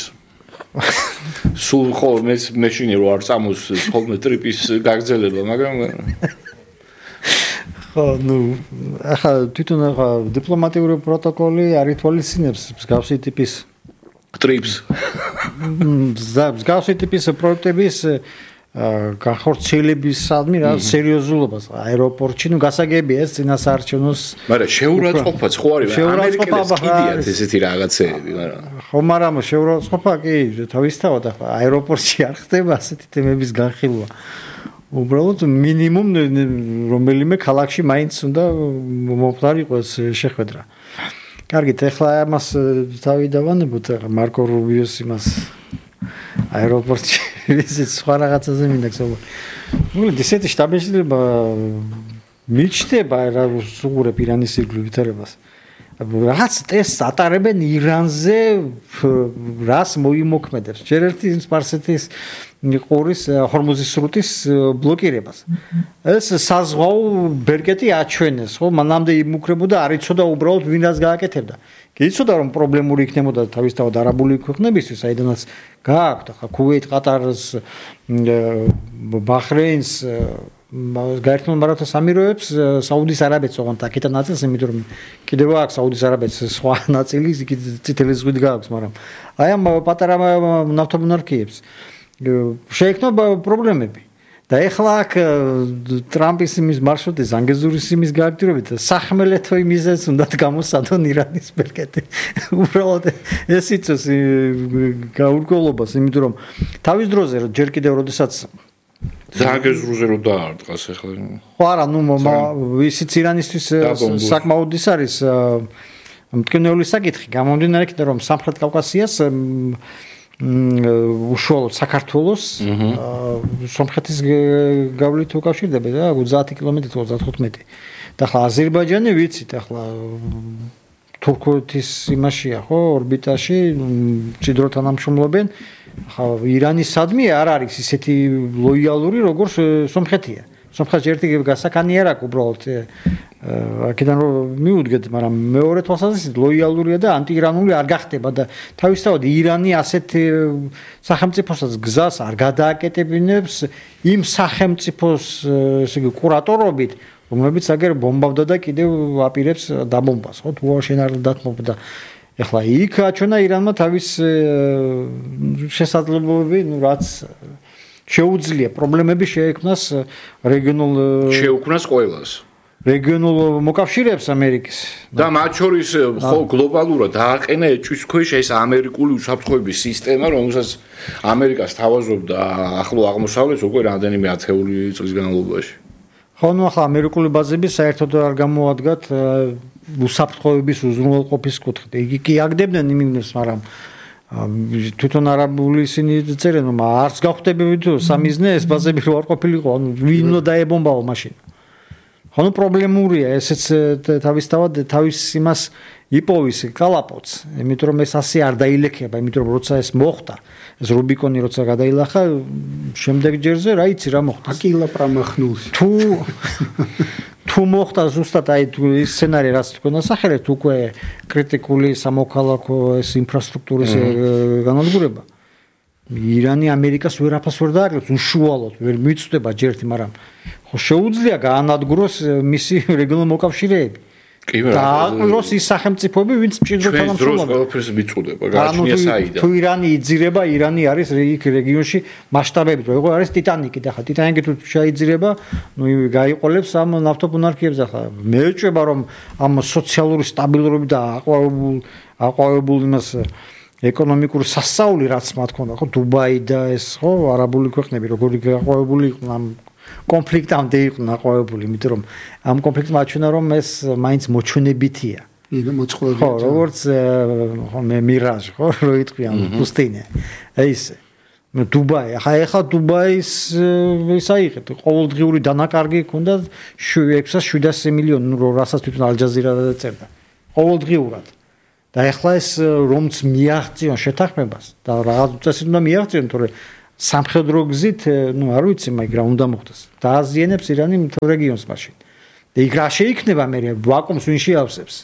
Speaker 2: სულ ხო მეშინი რო არ წამოს ხოლმე ტრიპის გაგრძელება მაგრამ
Speaker 1: ხო, ну, ახლა თვითონ ახლა დიპლომატიური პროტოკოლი არ ითვალისწინებს მსგავსი ტიპის
Speaker 2: ტრიპს.
Speaker 1: მსგავსი ტიპის პროექტების განხორციელებისადმი რა სერიოზულობას აეროპორტში, ну, გასაგებია ეს წინასაარჩევნოს.
Speaker 2: მაგრამ შეურაცხყოფაც ხო არის? ამერიკელებს კიდიათ ესეთი რაღაცეები, მაგრამ
Speaker 1: ხო, მაგრამ შეურაცხყოფა კი თავისთავად ახლა აეროპორტში არ ხდება ასეთი თემების განხილვა. უბრალოდ მინიმუმ რომელიმე ქალაქში მაინც უნდა მომხდარიყო ეს შეხვედრა. კარგით, ეხლა ამას თავი დავანებოთ, მარკო რუბიოს იმას აეროპორტში ისიც სხვა რაღაცაზე მინდა გსაუბრო. მოკლედ ისეთი შტაბ-შეჯიბრება მიჩნდება რა სუღურებ ირანის ირგვლივ ვითარებას. რაღაც ტესტს ატარებენ ირანზე რას მოიმოქმედებს. ჯერ ერთი სპარსეთის ყურის ჰორმუზის სრუტის ბლოკირებას. ეს საზღვაო ბერკეტი აჩვენეს, ხო, მანამდე იმუქრებოდა, არ იცოდა უბრალოდ ვინ რას გააკეთებდა. კი იცოდა რომ პრობლემური იქნებოდა თავისთავად არაბული ქვეყნებისთვის, საიდანაც გააქვთ ახლა ქუვეით, ყატარს, ბაჰრეინს გაერთიანებულ მარაბთა სამიროებს საუდის არაბეთს ოღონდ აქეთან ნაწილს, იმიტომ რომ კიდევ აქვს საუდის არაბეთს სხვა ნაწილი, იქ წითელი ზღვით გააქვს, მაგრამ აი ამ პატარა ნავთობმონარქიებს შეექმნა პრობლემები. და ეხლა აქ ტრამპის იმის მარშრუტი ზანგეზურის იმის გააქტიურებით სახმელეთო იმიზეს უნდათ გამოსადონ ირანის ბერკეტი. უბრალოდ ეს იწევს გაურკვევლობას, იმიტომ რომ თავის დროზე ჯერ კიდევ როდესაც
Speaker 2: ზანგეზურზე რო დაარტყას ეხლა.
Speaker 1: ხო არა, ნუ ისიც ირანისთვის საკმაოდ ის არის მტკივნეული საკითხი, გამომდინარე იქიდან რომ სამხრეთ კავკასიას უშუალოდ საქართველოს სომხეთის გავლით უკავშირდება და 30 კილომეტრი თუ 35. და ახლა აზერბაიჯანი ვიცით, ახლა თურქეთის იმაშია, ხო, ორბიტაში ჭიდროთ თანამშრომლობენ. ახლა ირანისადმი არ არის ისეთი ლოიალური როგორც სომხეთია. სომხეთს ერთი გასაკანი არ აქვს უბრალოდ აქედან რომ მიუდგეთ, მაგრამ მეორე თვალსაზრისით ლოიალურია და ანტიირანული არ გახდება და თავისთავად ირანი ასეთ სახელმწიფოსაც გზას არ გადააკეტებინებს იმ სახელმწიფოს ესე იგი კურატორობით, რომლებიც აგერ ბომბავდა და კიდევ აპირებს დაბომბას, ხო, თუ შენ არ დათმობდა. ეხლა იქ აჩვენა ირანმა თავის შესაძლებლობები, ну რაც შეუძლია პრობლემები შეექმნას რეგიონულ
Speaker 2: შეუქმნას ყველას
Speaker 1: რეგიონულ მოკავშირეებს ამერიკის
Speaker 2: და მათ შორის ხო გლობალურად დააყენა ეჭვის ქვეშ ეს ამერიკული უსაფრთხოების სისტემა, რომელსაც ამერიკას თავაზობდა ახლო აღმოსავლეთს უკვე რამდენიმე ათეული წლის განმავლობაში.
Speaker 1: ხო, ну ახლა ამერიკული ბაზები საერთოდ არ გამოადგათ უსაფრთხოების უზრუნველყოფის კუთხით. იგი კი აგდებდნენ იმის, მაგრამ თვითონ არაბული ისინი წერენ, რომ არც გავხდებები თუ სამიზნე ეს ბაზები რო არ ყოფილიყო, ანუ ვინ უნდა დაებომბაო მაშინ. ხო, ну პრობლემურია ესეც თავისთავად თავის იმას იპოვის კალაპოტს, იმიტომ რომ ეს ასე არ დაილექება, იმიტომ რომ როცა ეს მოხდა, ეს რუბიკონი როცა გადაილახა, შემდეგ ჯერზე რა იცი რა მოხდა.
Speaker 3: აკილა პრამახნულს.
Speaker 1: თუ მოხდა ზუსტად აი ის სცენარი რაც თქვენ ასახელეთ, უკვე კრიტიკული სამოქალაქო ეს ინფრასტრუქტურის განადგურება. ირანი ამერიკას ვერაფერს ვერ დააკლებს, უშუალოდ ვერ მიწვდება ჯერთი, მაგრამ ხო შეუძლია გაანადგუროს მისი რეგიონული მოკავშირეები. დააკვიროს ის სახელმწიფოები, ვინც მჭიდროდ თანამშრომლობენ.
Speaker 2: ჩვენ ყველაფერს მიწვდება, გააჩნია საიდან.
Speaker 1: თუ ირანი იძირება, ირანი არის იქ რეგიონში მასშტაბებით, როგორ არის ტიტანიკი და ხა ტიტანიკი თუ შეიძირება, გაიყოლებს ამ ნავთობუნარქიებს ახლა. მეეჭვება რომ ამ სოციალური სტაბილურობით და აყვავებულ იმას ეკონომიკური სასწაული რაც მათ ქონდა, ხო, დუბაი და ეს ხო, არაბული ქვეყნები როგორი გაყვავებული იყვნენ ამ კონფლიქტამდე იყვნენ აყვავებული, იმიტომ რომ ამ კონფლიქტმა აჩვენა რომ ეს მაინც მოჩვენებითია.
Speaker 3: მოწყობილია.
Speaker 1: ხო, როგორც ხო მე მირაჟ, ხო, რო იტყვიან პუსტინე. ეს დუბაი, ახლა დუბაის ის აიღეთ, ყოველდღიური დანაკარგი ჰქონდა 600 მილიონი, რასაც თვითონ ალ-ჯაზირა წერდა. ყოველდღიურად. და ახლა ეს რომც მიაღწიონ შეთანხმებას და რაღაც უწესით უნდა მიაღწიონ, თორე სამხედრო გზით, არ ვიცი, მაგრამ რა უნდა მოხდეს. დააზიანებს ირანი მთელ რეგიონს მაშინ. და იქ რა შეიქნება მე ვაკუუმს ვინ შეავსებს?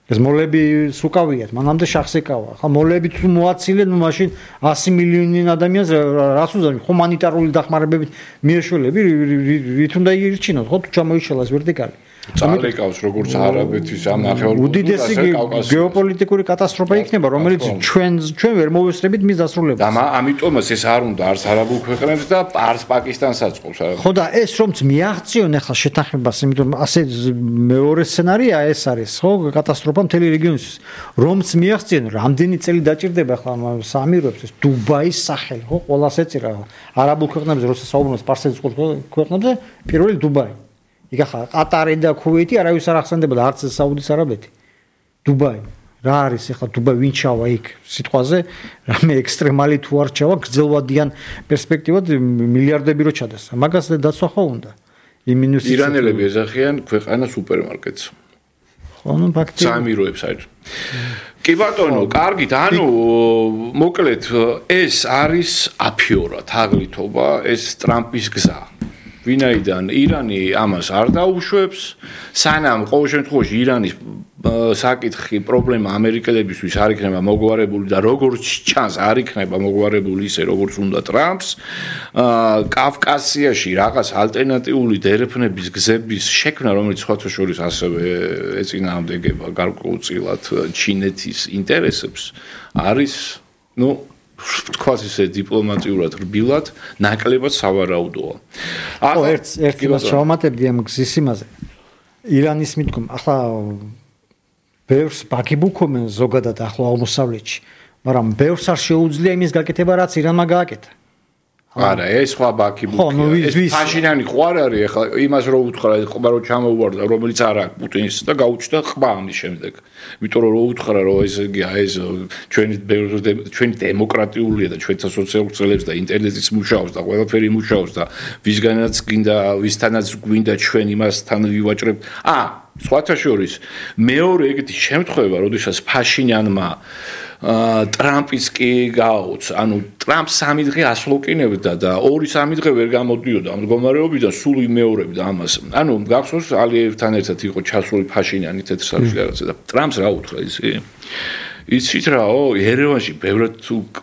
Speaker 1: ეს მოლები სუკავიათ, მანამდე შახს ეკავა. ხა მოლები თუ მოაცილენ, მაშინ 100 მილიონი ადამიანს რას უზარმი ჰუმანიტარული დახმარებებით მიეშველები, რით უნდა ირჩინოთ, ხო თუ ჩამოიშალას ვერტიკალი.
Speaker 2: წალეკავს როგორც არაბეთის ამ ნახევარკუნძულზე
Speaker 1: უდიდესი გეოპოლიტიკური კატასტროფა იქნება, რომელიც ჩვენ ვერ მოვესწრებით მის დასრულებას.
Speaker 2: და ამიტომაც ეს არ უნდა არც არაბულ ქვეყნებს და არც პაკისტანსაც ყოფს.
Speaker 1: ხო და ეს რომც მიაღწიონ ახლა შეთანხმებას, იმიტომ ასე მეორე სცენარია ეს არის, ხო, კატასტროფა მთელი რეგიონისთვის. რომც მიაღწიონ, რამდენი წელი დაჭირდება ახლა საამიროებს ეს დუბაის სახელი, ხო, ყველას ეწირა არაბულ ქვეყნებზე, როცა საუბრობს პარსეთის ქვეყნებზე, პირველი დუბაი. იქ ახლა ყატარი და ქუვეითი არავის არ ახსენდება და არც საუდის არაბეთი. დუბაი. რა არის ახლა დუბაი ვინ ჩავა იქ სიტყვაზე? რამე ექსტრემალი თუ არ ჩავა, გრძელვადიან პერსპექტივად მილიარდები რო ჩადეს. მაგას დაცვა ხო უნდა.
Speaker 2: ირანელები ეძახიან ქვეყანა სუპერმარკეტს.
Speaker 1: ხო, ნუ ფაქტია.
Speaker 2: საამიროებს არის. კი კარგით, ანუ მოკლედ ეს არის აფიორა, თაღლითობა, ეს ტრამპის გზა. ვინაიდან ირანი ამას არ დაუშვებს, სანამ ყოველ შემთხვევაში ირანის საკითხი პრობლემა ამერიკელებისთვის არ იქნება მოგვარებული და როგორც ჩანს არ იქნება მოგვარებული ისე როგორც უნდა ტრამპს, კავკასიაში რაღაც ალტერნატიული დერეფნების გზების შექმნა, რომელიც სხვათა შორის ასევე ეწინააღმდეგება გარკვეულწილად ჩინეთის ინტერესებს, არის, თქვათ ისე დიპლომატიურად რბილად ნაკლებად სავარაუდოა.
Speaker 1: ახლა ერთ იმას შევამატებდი ამ გზის იმაზე. ირანის მithkom, ახლა ბევრს ბაგიბუქობენ ზოგადად ახლა აღმოსავლეთში, მაგრამ ბევრს არ შეუძლია იმის გაკეთება, რაც ირანმა გააკეთა.
Speaker 2: არა, ეს სხვა ბაგიბუქია. ეს ფაშინიანი ხო არ არის, ახლა იმას რო უთხრა, ყბა რო ჩამოუვარდა, რომელიც არ აქვს პუტინის და გაუჩნდა ყბა ამის შემდეგ. იმიტომ რომ რო უთხრა, რომ ეს ჩვენი დემოკრატიულია და ჩვენთა სოციალურ წელებს და ინტერნეტიც მუშაობს და ყველაფერი მუშაობს და ვისთანაც გვინდა ჩვენ იმასთან ვივაჭრებთ. სხვათა შორის მეორე ეგეთი შემთხვევა, როდესაც ფაშინიანმა ტრამპის კი გააოც, ანუ ტრამპს 3 დღე ასლოკინებდა და 2-3 დღე ვერ გამოდიოდა ამ მდგომარეობიდან, სულ იმეორებდა ამას. ანუ გახსოვს ალიევთან ერთად იყო ჩასული ფაშინიანი თეთრსაჩხი რაღაცა და ტრამპს რა უთხრა იცით რაო, ერევანში ბევრად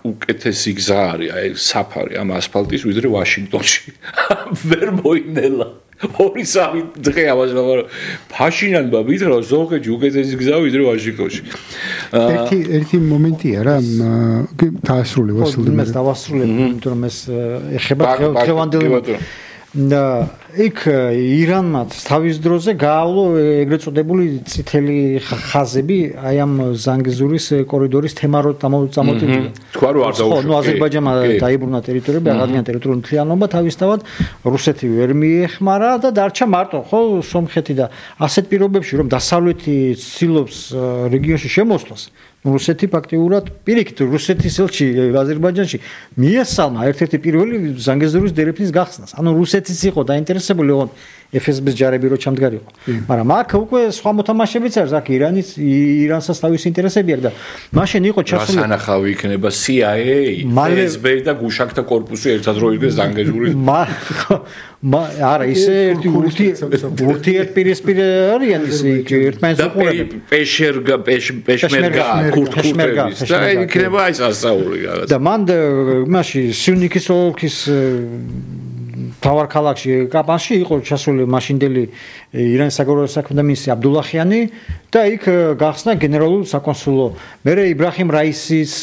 Speaker 2: უკეთესი გზა არის, აი საფარი ამ ასფალტის ვიდრე ვაშინგტონში. ვერ მოინელა. 2-3 დღე ამას ფაშინიანმა მითხრა ზოგადად უკეთესი გზა ვიდრე ვაშინგტონში.
Speaker 3: ერთი მომენტია რა, დაასრულე ვასილ.
Speaker 1: მე დავასრულებ, იმიტომ რომ ეს ეხება დღევანდელი და იქ ირანმა თავის დროზე გაავლო ეგრეთ წოდებული წითელი ხაზები აი ამ ზანგეზურის კორიდორის თემარო წამოწევდა.
Speaker 2: თქვა რომ არ დაუშვეს.
Speaker 1: ხო, აზერბაიჯანმა დაიბრუნა ტერიტორიები, აღადგინა ტერიტორიული მთლიანობა, თავისთავად რუსეთი ვერ მიეხმარა და დარჩა მარტო, ხო, სომხეთი და ასეთ პირობებში რომ დასავლეთი ცდილობს რეგიონში შემოსვლას, რუსეთი ფაქტიურად პირიქით რუსეთის ელჩი აზერბაიჯანში მიესალმა ერთ-ერთი პირველი ზანგეზურის დერეფნის გახსნას. ანუ რუსეთიც იყო დაინტერესებული, FSB-ს ჯარები რო ჩამდგარიყო. მაგრამ აქ უკვე სხვა მოთამაშებიც არის, აქ ირანსაც თავის ინტერესები აქვს და მაშინ იყო ჩასული
Speaker 2: რასანახავი იქნება CIA, FSB და გუშაკთა კორპუსი ერთად რო იგდეს დანგეჟური.
Speaker 1: არა, ისე ერთი ურთიერთპირისპირ არიან ისე ერთმანეთს უყურებენ.
Speaker 2: პეშმერგა, კურთკურთების და იქნება აი სასაული რაღაც.
Speaker 1: და მან მაშინ სიუნიქის ოლქის თავარ ქალაქში კაპანში იყო ჩასული მაშინდელი ირანის საგარეო საქმეთა მინისტრი აბდულაჰიანი და იქ გახსნა გენერალური საკონსულო. მერე იბრაჰიმ რაისის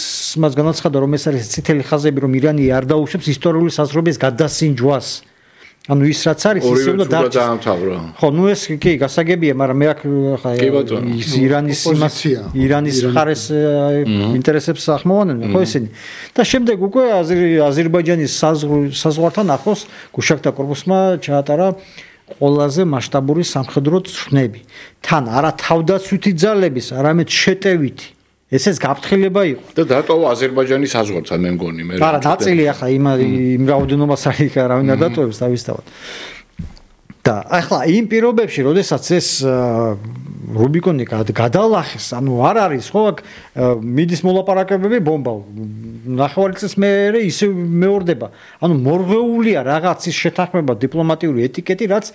Speaker 1: მას განაცხადა რომ ეს არის წითელი ხაზები რომ ირანი არ დაუშვებს ისტორიული საზღვრების გადასინჯვას. ანუ ის რაც არის ისე უნდა
Speaker 2: დაამთავრა.
Speaker 1: ხო, ნუ ეს კი გასაგებია, მაგრამ მე აქ ირანის მხარეს ინტერესებს ახმოვანენ, ხო ისინი. და შემდეგ უკვე აზერბაიჯანის საზღვართან ახლოს გუშაკთა კორპუსმა ჩაატარა ყველაზე მასშტაბური სამხედრო ცხრნები. თან არა თავდაცვითი ძალების, არამედ შეტევითი. ესეც გაფრთხილება იყო.
Speaker 2: და დატოვა აზერბაიჯანის საზღვართან მე მგონი მე.
Speaker 1: არა, ნაწილი ახლა იმ რაოდენობას არის არავინ არ დატოვებს თავისთავად. და ახლა იმ პირობებში, როდესაც ეს რუბიკონი გადალახეს, ანუ არ არის ხო აქ მიდის მოლაპარაკებები ბომბა. ნახევარი წლის მერე ისე მეორდება. ანუ მორღვეულია რაღაცის შეთანხმება დიპლომატიური ეტიკეტი, რაც